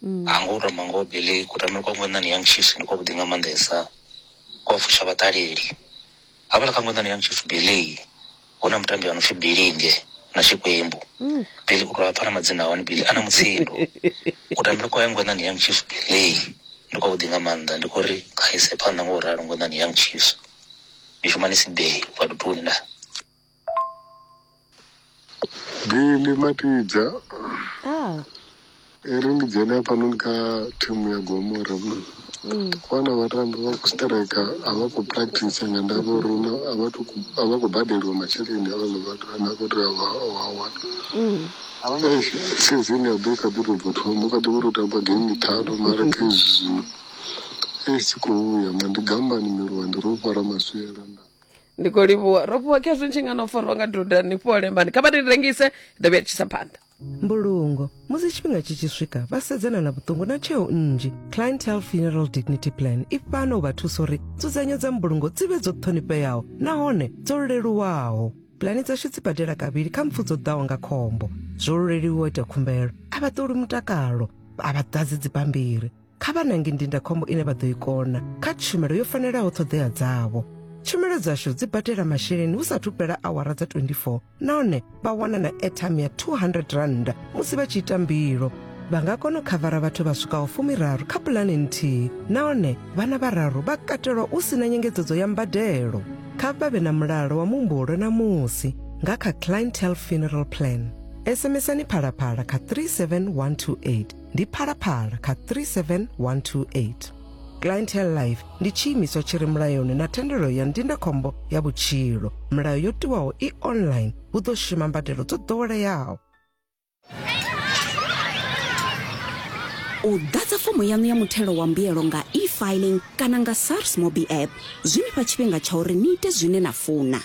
A ngo tamba ngo Billy kutambele kwa Ngwenani Young Chiefs ndi kwa vhuḓi nga maanḓesa, kwa fusha vhaṱaleli. Hafhaḽa kha Ngwenani Young Chiefs Billy hu na mutambi ano pfi Bilinge na Xikwembu. Billy u tou pfa na madzina a hone, Billy ana mutsindo. Kutambele kwa Ngwenani Young Chiefs Billy ndi kwa vhuḓi nga maanḓa, ndi khou ri kha ise phanḓa ngo ralo Ngwenani Young Chiefs. Ndi shuma ni Sibei wa Dutuni nda. Billy Matidza. Ah. Eri ndi dzhene hafhanoni kha thimu ya Gomora. Vhana vhatambi vha khou striker a vha khou practice nga ndavha uri a vha a vha khou badeliwa masheleni havhaḽa vhathu ane a khou tea u a wana. Season ya ḓo i kha ḓi tou bva thoma, u kha ḓi vha uri u tamba game ṱhanu, mara kha hezwi zwino i si khou vhuya ma ndi gambani miluwa ndi ro fara maswiela nda. Ndi khou livhuwa. Ro fhiwa khezwi tshi nga no farwa nga duda ni fhole mani, kha vha ri rengise ḓo vhuya tshisa phanḓa. Mbulungo musi tshifhinga tshi tshi swika vha sedzana na vhuṱungu na tsheo nnzhi. Clientele Funeral Dignity Plan i fhano u vha thusa uri nzudzanyo dza mbulungo dzi vhe dzo ṱhonifheaho nahone dzo leluwaho. Pulani dzashu dzi badela kavhili kha mpfu dzo ḓaho nga khombo. Zwo leluwa u ita khumbelo, a vha ṱoli mutakalo, a vha ḓadzi dzibammbiri. Kha vha nange ndindakhombo ine vha ḓo i kona kha tshumelo yo fanelaho ṱhoḓea dzavho. Tshumelo dzashu dzi badela masheleni hu sathu fhela awara dza twenty-four nahone vha wana na airtime ya two hundred rand musi vha tshi ita mbilo. Vha nga kona u khavara vhathu vha swikaho fumiraru kha pulane nthihi nahone vhana vhararu vha katelwa u sina nyengedzedzo ya mbadelo. Kha vha vhe na mulalo wa muhumbulo na musi nga kha Clientele Funeral Plan. SMSani Phalaphala kha three seven one two eight. Ndi Phalaphala kha three seven one two eight. Clientele Life ndi tshiimiswa tshi re mulayoni na thendelo ya ndindakhombo ya vhutshilo. Milayo yo tiwaho i online, hu ḓo shuma mbadelo dzo ḓoweleaho. U ḓadza fomo yaṋu ya muthelo wa mbuyelo nga e-filing kana nga SARS Mobi app zwi ni fha tshifhinga tsha uri ni ite zwine na funa.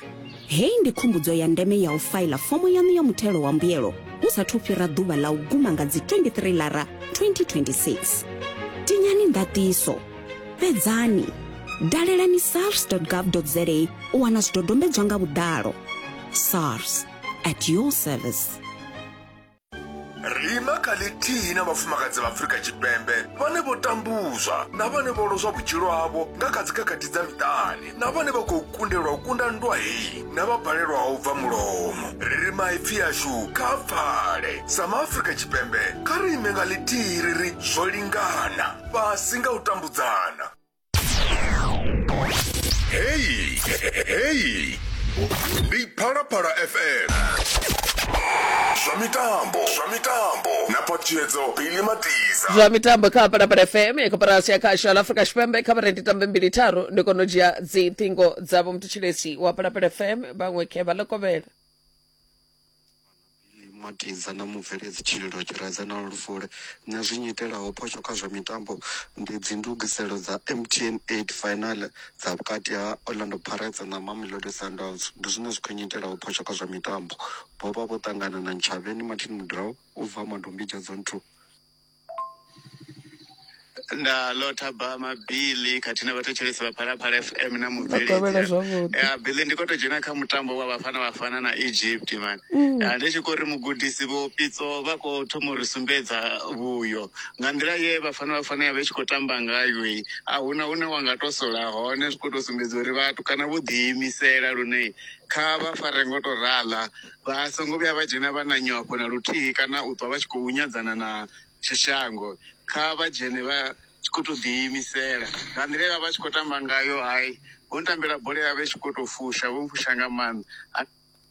Heyi ndi khumbudzo ya ndeme ya u faila fomo yaṋu ya muthelo wa mbuyelo hu sathu fhira ḓuvha ḽa u guma nga dzi twenty-three Lara twenty twenty-six. Tinyani ndaṱiso, fhedzani, dalelani sars dot gov dot za u wana zwidodombedzwa nga vhuḓalo. SARS, at your service. Rima kha ḽithihi na vhafumakadzi vha Afrika Tshipembe vhane vho tambuzwa na vhane vho lozwa vhutshilo havho nga kha dzikhakhathi dza miṱani, na vhane vha khou kundelwa u kunda nndwa heyi na vha balelwaho u bva mulomo. Ri ri maipfi ashu kha pfale. Sa maAfrika Tshipembe kha ri ime nga ḽithihi ri ri zwo lingana fhasi nga u tambudzana. Hey, hey, ndi Phalaphala F M. Zwa mitambo, zwa mitambo na Phaṱhutshedzo Billy Matidza. Zwa mitambo kha Phalaphala F M ya koporasi ya khasho ya Afrika Tshipembe. Kha vha ndi tambe mbili tharu ndi kona u dzhia dzi ṱhingo dzavho muthetshelesi wa Phalaphala F M. Vhaṅwe khe vha ḽo kovhela. Matidza na mubveledzi Tshililo Tshiraidza na Lufule. Nṋe zwi nyitelaho phosho kha zwa mitambo ndi dzi ndugiselo dza M T N eight final dza vhukati ha Orlando Pirates na Mamelodi Sundowns. Ndi zwine zwi khou nyitelaho phosho kha zwa mitambo. Vho vha vho ṱangana na Ntshavheni Martin Mudrau u bva Madombidzha Zone two. Nda lotha ba mabili khathihi na vhathetshelesi vha Phalaphala F M na Kovhela mubveledzi. zwavhuḓi. Ya Billy ndi khou tou dzhena kha mutambo wa Bafana Bafana na Egypt man. Mm. Ya ndi tshi khou ri mugudisi Vho Pitso vha khou thoma u ri sumbedza vhuyo nga nḓila ye Bafana Bafana ya vha i tshi khou tamba ngayo i a huna hune wa nga to sola hone, zwi khou tou sumbedza uri vhatukana vho ḓiimisela lune kha vha fare ngo to raḽa, vha songo vhuya vha dzhena vha na nyofho na luthihi kana u ṱwa vha tshi khou nyadzana na shango. Kha vha dzhene vha tshi khou tou ḓiimisela nga nḓila ye vha vha tshi khou tamba ngayo. Hai, vho ntambela bola ya vha i tshi khou tou fusha, vho mfusha nga maanḓa.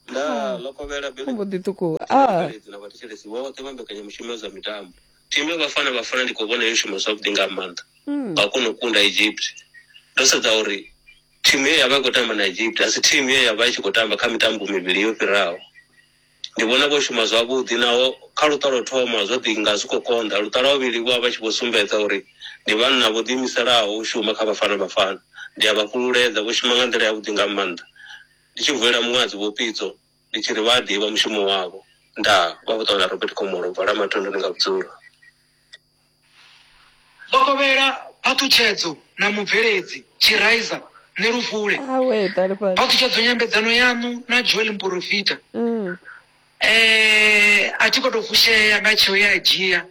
Nda ḽo kovhela Billy Mbo ḓi ṱukuwa. Ah. mubveledzi na vhathetshelesi vhoṱhe vha mbekanyamushumo ya zwa mitambo. Thimu ya Bafana Bafana ndi khou vhona yo shuma zwavhuḓi nga maanḓa Mm. nga kona u kunda Egypt. Ndo sedza uri thimu ye ya vha i khou tamba na Egypt a si thimu ye ya vha i tshi khou tamba kha mitambo mivhili yo fhiraho. Ndi vhona vho shuma zwavhuḓi naho kha luṱa lwo thoma zwo ḓi nga zwi khou konḓa, luṱa lwa vhuvhili vho vha vha tshi vho sumbedza uri ndi vhanna vho ḓiimiselaho u shuma kha Bafana Bafana. Ndi a vha fhululedza, vho shuma nga nḓila yavhuḓi nga maanḓa. Ndi tshi vulela muṅwadzi Vho Pitso ndi tshi ri vha a ḓivha mushumo wavho. Ndaa, vha vho ṱola Robert Khomolo bva Lamathondoni nga vhudzulo. Ḽo kovhela phaṱhutshedzo na mubveledzi Tshiraiza Nelufule. Awe, ṱalifhani. Phaṱhutshedzo nyambedzano yaṋu na Joel Mporofita. Mm. Eh, a thi khou tou fushea nga tsheo ye a dzhia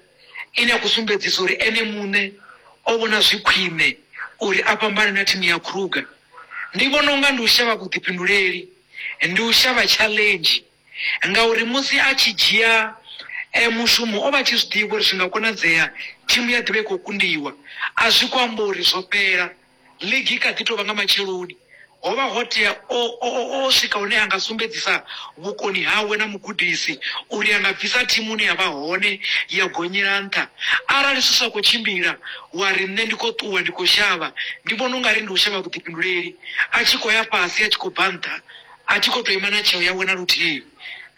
ine ya khou sumbedzisa uri ene muṋe o vhona zwi khwine uri a fhambane na thimu ya Kruger. Ndi vhona unga ndi u shavha vhuḓifhinduleli, ndi u shavha challenge, ngauri musi a tshi dzhia eh, mushumo o vha a tshi zwi ḓivha uri zwi nga konadzea thimu ya ḓivha i khou kundiwa. A zwi khou amba uri zwo fhela, ligi i kha ḓi tou vha nga matsheloni. Ho vha ho tea o, o, o, o swika hune a nga sumbedzisa vhukoni hawe na mugudisi uri a nga bvisa thimu ine ya vha hone ya gonyela nṱha. Arali zwi sa khou tshimbila wa ri nṋe ndi khou ṱuwa ndi khou shavha, ndi vhona ungari ndi u shavha vhuḓifhinduleli. A tshi khou ya fhasi a tshi khou bva nṱha, a thi khou tou ima na tsheo yawe na luthihi.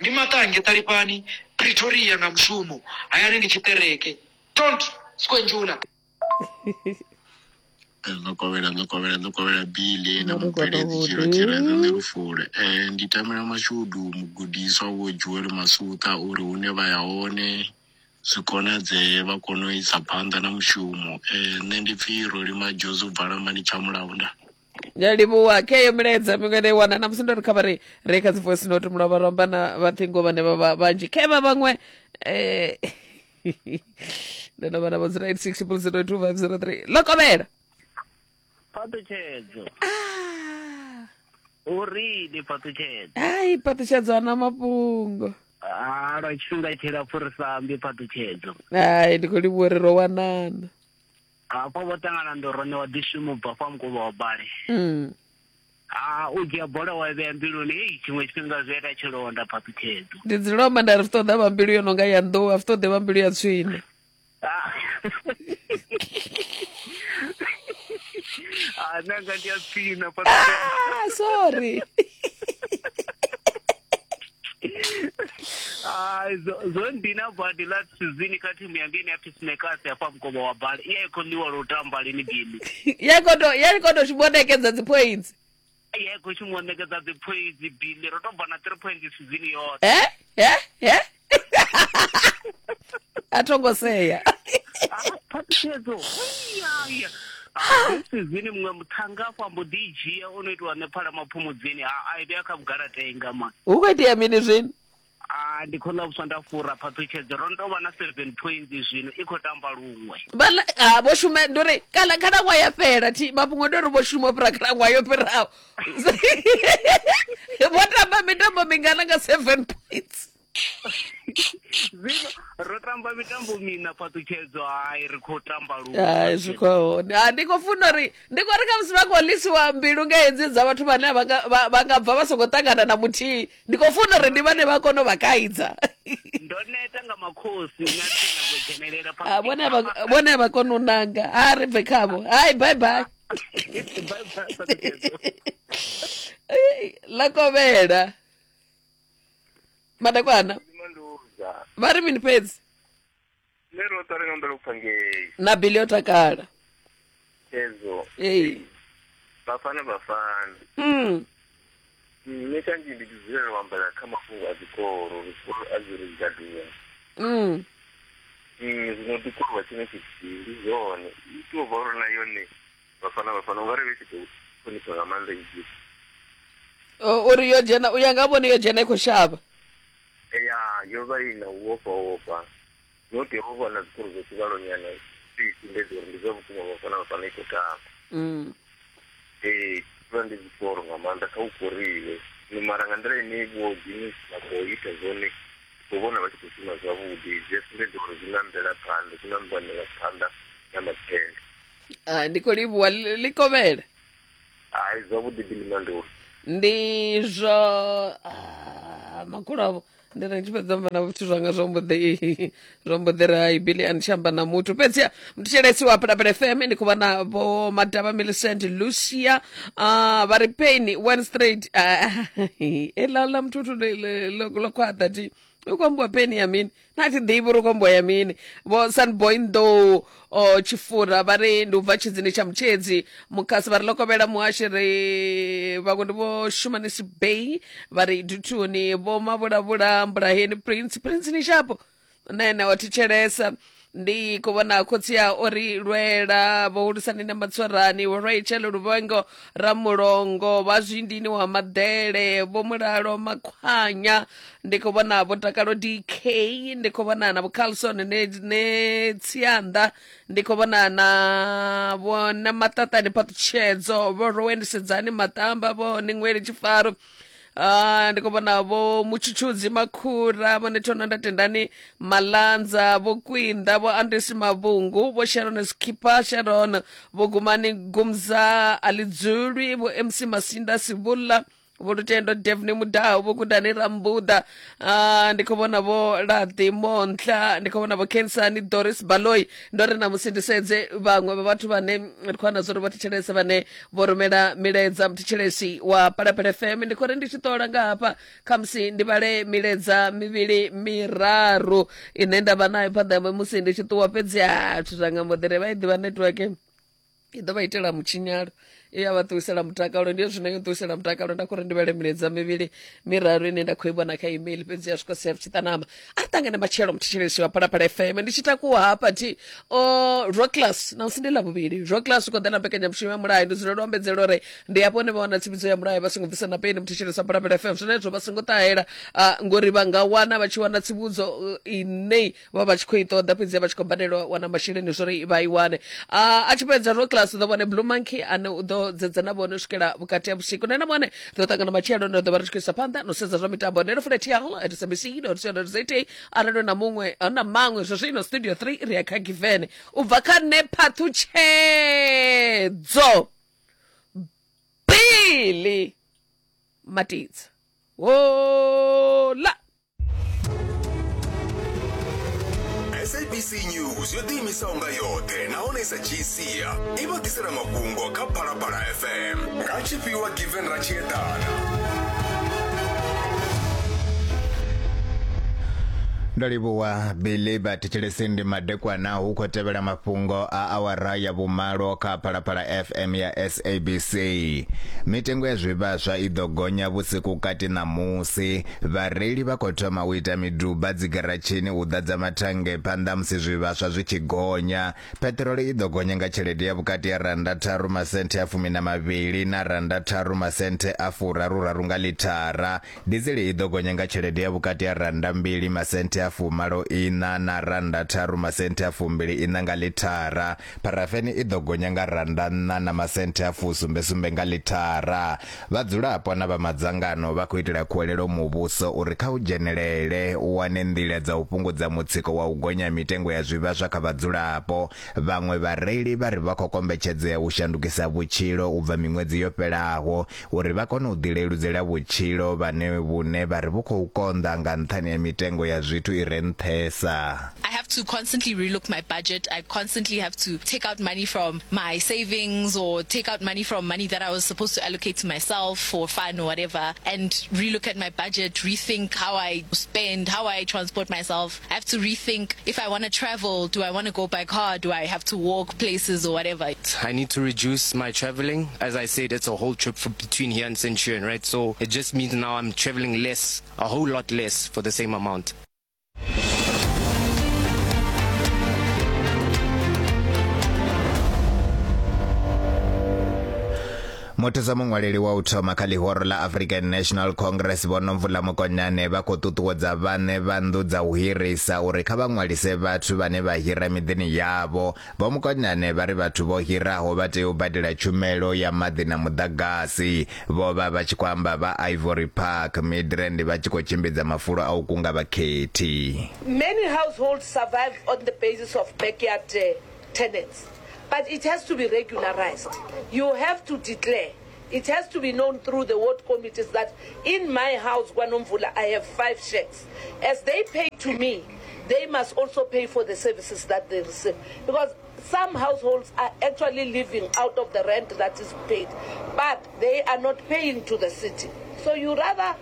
Ndi maṱange Ṱalifhani, Pretoria nga mushumo, hayani ndi tshiṱereke. Don't squenjula. Ḽo kovhela ḽo kovhela ḽo kovhela Billy na Ri khou mubveledzi Tshilo tou Tshiraiza Nelufule. Eh, ndi tamela mashudu mugudiswa Vho Joel Masuṱha uri hune vha ya hone zwi konadzee vha kone u isa phanḓa na mushumo. Eh, nṋe ndi pfhi Roli Majozi u bva Lambani Tshamulaunda. Ndi a livhuwa kheyo milaedza miṅwe nda i wana na musi ndo ri kha vha ri re kha dzi voice note mulovha ro amba na vhaṱhingo vhane vha vha vhanzhi khevha vhaṅwe eh ndo no vha navho zero eight six triple zero two five zero three ḽo kovhela. Phaṱhutshedzo. Uri ndi phaṱhutshedzo. Ai, phaṱhutshedzo ana mafhungo. Ah, lwa tshifhinga tshilapfu ri sa ambi phaṱhutshedzo. Ai, ndi khou livhuwa uri ro wanana. Hafho vho ṱangana ndo ro ṋewa ḓishumo bva fha mukovha wa bale. Mm. Ah, u dzhia bola wa i vhea mbiluni, hei tshiṅwe tshifhinga zwi ita tshilonda phaṱhutshedzo. Ndi dzulela u amba nda ri zwi ṱoḓa vha mbilu yo no nga ya nḓou, a zwi ṱoḓi vha mbilu ya tswina. Ah. Ah, nṋe anga ndi a tswina phaṱhutshedzo. Ah, sorry. Ah, zwo zwo ndina badi last season kha thimu yanga ine ya pfi Snakers ya fha mukovha wa bale. Iya i khou ḽiwa lwo tamba lini Billy. Ya khou tou ya khou tou shuma u ṋekedza dzi points. Iya i khou shuma u ṋekedza dzi points Billy, ro tou bva na three points season yoṱhe. Eh? Eh? Eh? A tho ngo sea. Phaṱhutshedzo. Iya, iya. Ah, season muṅwe muṱhannga afho ambo ḓi i dzhia o no itiwa nṋe phala maphumudzini a a i vhea kha vhugalatenga man. Hu khou itea mini zwino? Ah, ndi khou ḽa vhuswa nda fura phaṱhutshedzo. Ro no tou vha na seven points zwino i khou tamba luṅwe. Vhala ah vho shuma ndi uri kala khalaṅwaha ya fhela thi mafhungo ndi uri vho shuma u fhira khalaṅwaha yo fhiraho. Vho tamba mitambo mingana nga seven points. Zwino ro tamba mitambo miṋa phaṱhutshedzo, hai ri khou tamba luṅwe. Hai zwi khou hone. Ah ndi khou funa uri ndi khou ri kha musi vha khou ḽisiwa mbilu nga hedzi dza vhathu vhane vha nga vha vha nga bva vha songo ṱangana na muthihi. Ndi khou funa uri ndi vhane vha kone u vha kaidza. Ndo neta nga makhosi na thi nyago u dzhenelela Ah vhone a vha vhone a vha koni u nanga. Ha ri bve khavho. Hai bye bye. Bye bye phaṱhutshedzo. Ei, ḽa kovhela. Madakwana. Vha ri mini fhedzi? Nṋe ro ṱwa ri nga humbela u pfa ngei Na Billy o takala. hezwo Ee. Bafana Bafana. Mm. Nṋe kanzhi ndi tshi dzulela u ambela kha mafhungo a zwikolo, uri zwikolo a zwi ri gaduwa. Mm. Zwino ndi korwa tshine tshithihi ndi zwone i tea u vha uri na yone Bafana Bafana ungari vha tshi tou ṱhonifha nga maanḓa Egypt. Uri yo dzhena u ya nga vhone yo dzhena i khou shavha. Ya yo vha i na u ofha ofha no tea u vha na zwikoro zwa tshivhalo nyana zwi sumbedza uri ndi zwa vhukuma Bafana Bafana i khou tamba. Ee vha ndi zwikoro nga maanḓa kha u koriwe mara nga nḓila ine vho Guinness vha khou ita zwone u vhona vha tshi khou shuma zwavhuḓi zwi a sumbedza uri zwi na mvelaphanḓa zwi na mvelaphanḓa ya matshelo. Ah, ndi khou livhuwa ḽi kovhele. Hai zwavhuḓi Bilimandori. Ndi zwo ah, makhulu avho ndi ri tshi fhedza amba na vhathu zwanga zwo mbo ḓi zwo mbo ḓi ri hai Bili a ni tshi amba na muthu fhedziha mthetshelesi wa Phalaphala F M ndi khou vha na vho Madavha Millicent Lucia uh, vha ri pain one straight eḽa ḽa muthu ḽo khwaṱha thi u khou ambiwa peni ya mini na thi ḓivhi uri u khou ambiwa ya mini. Vho Sunboy Nḓou o Tshifura vha ri ndi u bva Tshidzini tsha Mutshedzi Mukhasi vha ri ḽo muhashi ri vhaṅwe ndi vho Shumanisi Bay vha ri Duthuni vho Mavhulavhula Mbulaheni Prince Prince ni shapo na ene wa thetshelesa. Ndi khou vhona khotsi a o ri lwela vho hulisani na Matsorani vho Rachel Luvhengo Ramulongo vha Zwindini wa Maḓele vho Mulalo Makhwanya ndi khou vhona vho Takalo D K ndi khou vhona na vho Carlson ne, ne Tsianda ndi khou vhona na vho na Maṱaṱani Phaṱhutshedzo vho Rowen Sedzani Matamba vho Ningweli Tshifaro. Ah, ndi khou vhona vho Mutshutshudzi Makhura vho Nethona Ndatendani Malanza vho Kwinda vho Andresi Mavhungu vho Sharon Skipper Sharon vho Gumani Gumza Alidzulwi vho M C Masinda Sivula vho Lutendo Devni Mudau vho Gudani Rambuda. Ah, ndi khou vhona vho Laḓi Montla ndi khou vhona vho Kensani Doris Baloi. Ndo ri na musi ndi sedze vhaṅwe vha vhathu vhane ri khou wana zwo ri vha thetshelesa vhane vho rumela milaedza mthetshelesi wa Phalaphala F M. Ndi khou ri ndi tshi ṱola nga hafha khamusi ndi vhale milaedza mivhili miraru ine nda vha nayo phanḓa ya musi ndi tshi ṱuwa fhedzi a zwithu zwa nga mbo ḓi ri vha i ḓivha network i ḓo vha itela mutshinyalo i ya vha ṱuwisela mutakalo ndi zwine yo ṱuwisela mutakalo. Nda khou ri ndi vhale milaedza mivhili miraru ine nda khou i vhona kha email fhedzi ya swika sia tshiṱanama. A ri ṱangane matshelo mthetshelesi wa Phalaphala F M. Ndi tshi takuwa hafha thi o Rockclass na musi ndi ḽa vhuvhili Rockclass u khou ḓa na mbekanyamushumo ya mulayo. Ndi dzulela u ambedzela uri ndi hafho hune vha wana tsivhudzo ya mulayo vha songo bvisa na peni mthetshelesi wa Phalaphala F M. Zwenezwo vha songo ṱahela ngori vha nga wana vha tshi wana tsivhudzo ine vha vha tshi khou i ṱoḓa fhedzi vha tshi khou badelwa wana masheleni zwori vha i wane. A tshi fhedza Rockclass u ḓo vhone Blue Monkey ane u ḓo dzedza na vhone u swikela vhukati ha vhusiku. Nṋe na vhone ri ḓo ṱangana matshelo ndo ḓo vha ri tshi khou isa phanḓa no sedza zwa mitambo. Nṋe ndo fula T L at S B C dot co dot Z A arali na muṅwe na maṅwe zwa zwino studio three ri ya kha Given u bva kha nṋe Phaṱhutshedzo Bili Matidza hola. S A B C News yo ḓiimisaho nga yoṱhe nahone sa G C i vha ḓisela mafhungo kha Phalaphala F M nga tshifhiwa Given ra tshi eḓana. Ndo livhuwa Bili vhathetshelesi ndi madekwana hu khou tevhela mafhungo a awara ya vhumalo kha Phalaphala F M ya S A B C. Mitengo ya zwivhaswa i ḓo gonya vhusiku kati ṋamusi. Vhareili vha khou thoma u ita miduba dzigaratshini u ḓadza mathannge phanḓa musi zwivhaswa zwi tshi gonya. Peṱirolo i ḓo gonya nga tshelede ya vhukati ya randa tharu masenthe a fumi na mavhili na randa tharu masenthe a furaruraru nga lithara. Dizele i ḓo gonya nga tshelede ya vhukati ya randa mbili masenthe a fumalo ina na randa tharu masenthe a fumbili ina nga lithara. Parafeni i ḓo gonya nga randa nṋa na masenthe a fusumbe sumbe nga lithara. Vhadzulapo na vha madzangano vha khou itela khuwelelo muvhuso uri kha u dzhenelele u wane nḓila dza u fhungudza mutsiko wa u gonya mitengo ya zwivhaswa kha vhadzulapo. Vhaṅwe vhareili vha ri vha khou kombetshedzea u shandukisa vhutshilo u bva miṅwedzi yo fhelaho uri vha kone u ḓileludzela vhutshilo vhane vhune vha ri vhu khou konḓa nga nṱhani ha mitengo ya zwithu i re nṱhesa. I have to constantly relook my budget. I constantly have to take out money from my savings or take out money from money that I was supposed to allocate to myself for fun or whatever, and relook at my budget, rethink how I spend, how I transport myself. I have to rethink if I want to travel, do I want to go by car, do I have to walk places or whatever. I need to reduce my traveling. As I said, it's a whole trip from between here and Centurion, right? So it just means now I'm traveling less, a whole lot less for the same amount. Muthusa muṅwaleli wa u thoma kha ḽihoro ḽa African National Congress Vho Nomvula Mokonyane vha khou ṱuṱuwedza vhaṋe vha nnḓu dza u hirisa uri kha vha ṅwalise vhathu vhane vha hira miḓini yavho. Vho Mokonyane vha ri vhathu vho hiraho vha tea u badela tshumelo ya maḓi na muḓagasi. Vho vha vha tshi khou amba vha Ivory Park, Midrand vha tshi khou tshimbidza mafulo a u kunga vhakhethi. Many households survive on the basis of backyard uh, tenants. But it has to be regularized. You have to declare. It has to be known through the ward committees that in my house, KwaNomvula, I have five shacks. As they pay to me, they must also pay for the services that they receive. Because some households are actually living out of the rent that is paid, but they are not paying to the city. So you rather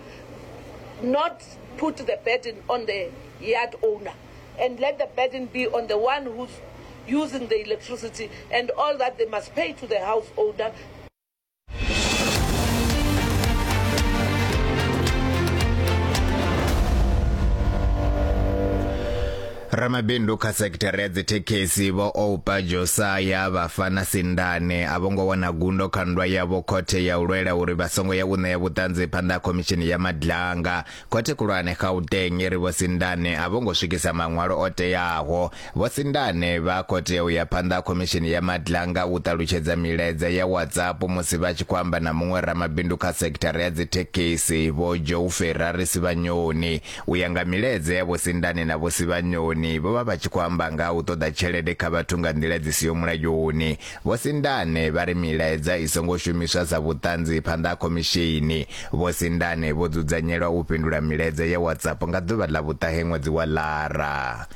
not put the burden on the yard owner and let the burden be on the one who's using the electricity and all that they must pay to the house owner. Ramabindu kha sekithara ya dzithekhisi Vho Oupa Josaya vha Fana Sindane a vho ngo wana gundo kha nndwa yavho khothe ya u lwela uri vha songo ya u ṋea vhuṱanzi phanḓa ha khomishini ya Madlanga. Khothe khulwane Gauteng iri Vho Sindane a vho ngo swikisa maṅwalo o teaho. Vho Sindane vha khou tea u ya phanḓa ha khomishini ya Madlanga u ṱalutshedza milaedza ya WhatsApp musi vha tshi khou amba na muṅwe ramabindu kha sekithara ya dzithekhisi Vho Joe Ferrari Sivanyoni. U ya nga milaedza ya Vho Sindane na Vho Sivanyoni, vho vha vha tshi khou amba nga u ṱoḓa tshelede kha vhathu nga nḓila dzi siho mulayoni. Vho Sindane vha ri milaedza i songo shumiswa sa vhuṱanzi phanḓa ha khomishini. Vho Sindane vho dzudzanyelwa u fhindula milaedza ya WhatsApp nga ḓuvha ḽa vhuṱahe ṅwedzi wa Lara.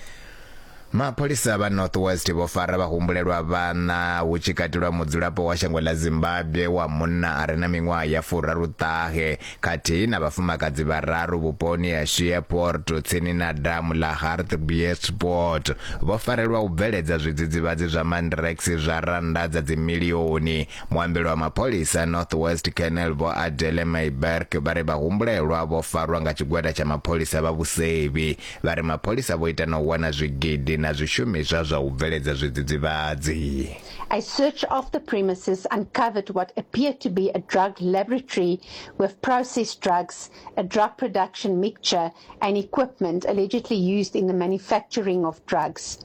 Mapholisa vha North West vho fara vhahumbulelwa vhana hu tshi katelwa mudzulapo wa shango ḽa Zimbabwe wa munna a re na miṅwaha ya furaruṱahe khathihi na vhafumakadzi vhararu vhuponi ha Sheeport tsini na damu ḽa Hartbeespoort. Vho farelwa u bveledza zwidzidzivhadzi zwa Mandrax zwa rannda dza dzimilioni. Muambeli wa mapholisa North West Colonel Vho Adele Mayberg vha ri vhahumbulelwa vho farwa nga tshigwada tsha mapholisa vha vhusevhi. Vha ri mapholisa vho ita na u wana zwigidi na zwishumiswa zwa u bveledza zwidzidzivhadzi. A search of the premises uncovered what appeared to be a drug laboratory with processed drugs, a drug production mixture, and equipment allegedly used in the manufacturing of drugs.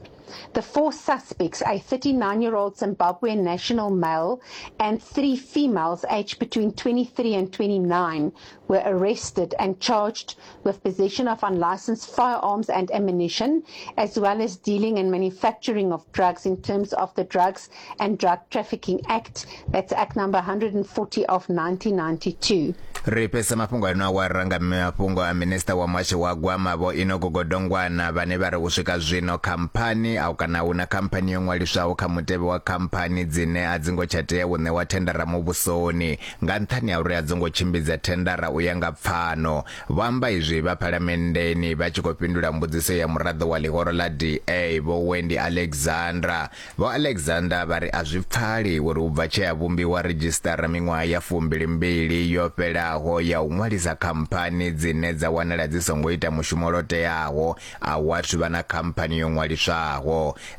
The four suspects, a thirty-nine-year-old Zimbabwean national male and three females aged between twenty-three and twenty-nine, were arrested and charged with possession of unlicensed firearms and ammunition, as well as dealing and manufacturing of drugs in terms of the Drugs and Drug Trafficking Act. That's Act number one hundred forty of nineteen ninety-two. Ri fhesa mafhungo ano awara nga mafhungo a minista wa muhasho wa gwama Vho Enoch Godongwana vhane vha ri u swika zwino khamphani au kana huna khamphani yo ṅwaliswaho kha mutevhe wa khamphani dzine a dzi ngo tsha tea u ṋewa thendara muvhusoni nga nṱhani ha uri a dzi ngo tshimbidza thendara u ya nga pfano. Vho amba izwi vha phalamenndeni vha tshi khou fhindula mbudziso ya muraḓo wa ḽihoro ḽa D A Vho Wendy Alexandra. Vho Alexander vha ri a zwi pfali uri u bva tshe ya vhumbiwa redzhistara miṅwaha ya fumbilimbili yo fhelaho ya u ṅwalisa khamphani dzine dza wanala dzi songo ita mushumo lo teaho a wathu vha na khamphani yo ṅwaliswaho.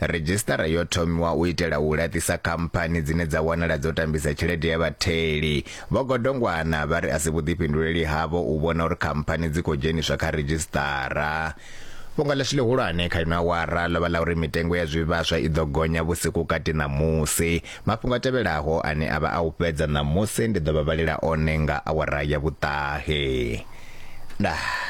Redzhistara yo thomiwa u itela u laṱisa khamphani dzine dza wanala dzo tambisa tshelede ya vhatheli. Vho Godongwana vha ri a si vhuḓifhinduleli havho u vhona uri khamphani dzi khou dzheniswa kha redzhistara. Fhungo ḽashu ḽihulwane kha ino awara ḽo vha ḽa uri mitengo ya zwivhaswa i ḓo gonya vhusiku kati ṋamusi. Mafhungo a tevhelaho ane a vha a u fhedza ṋamusi ndi ḓo vha vhalela one nga awara ya vhuṱahe. Ndaa.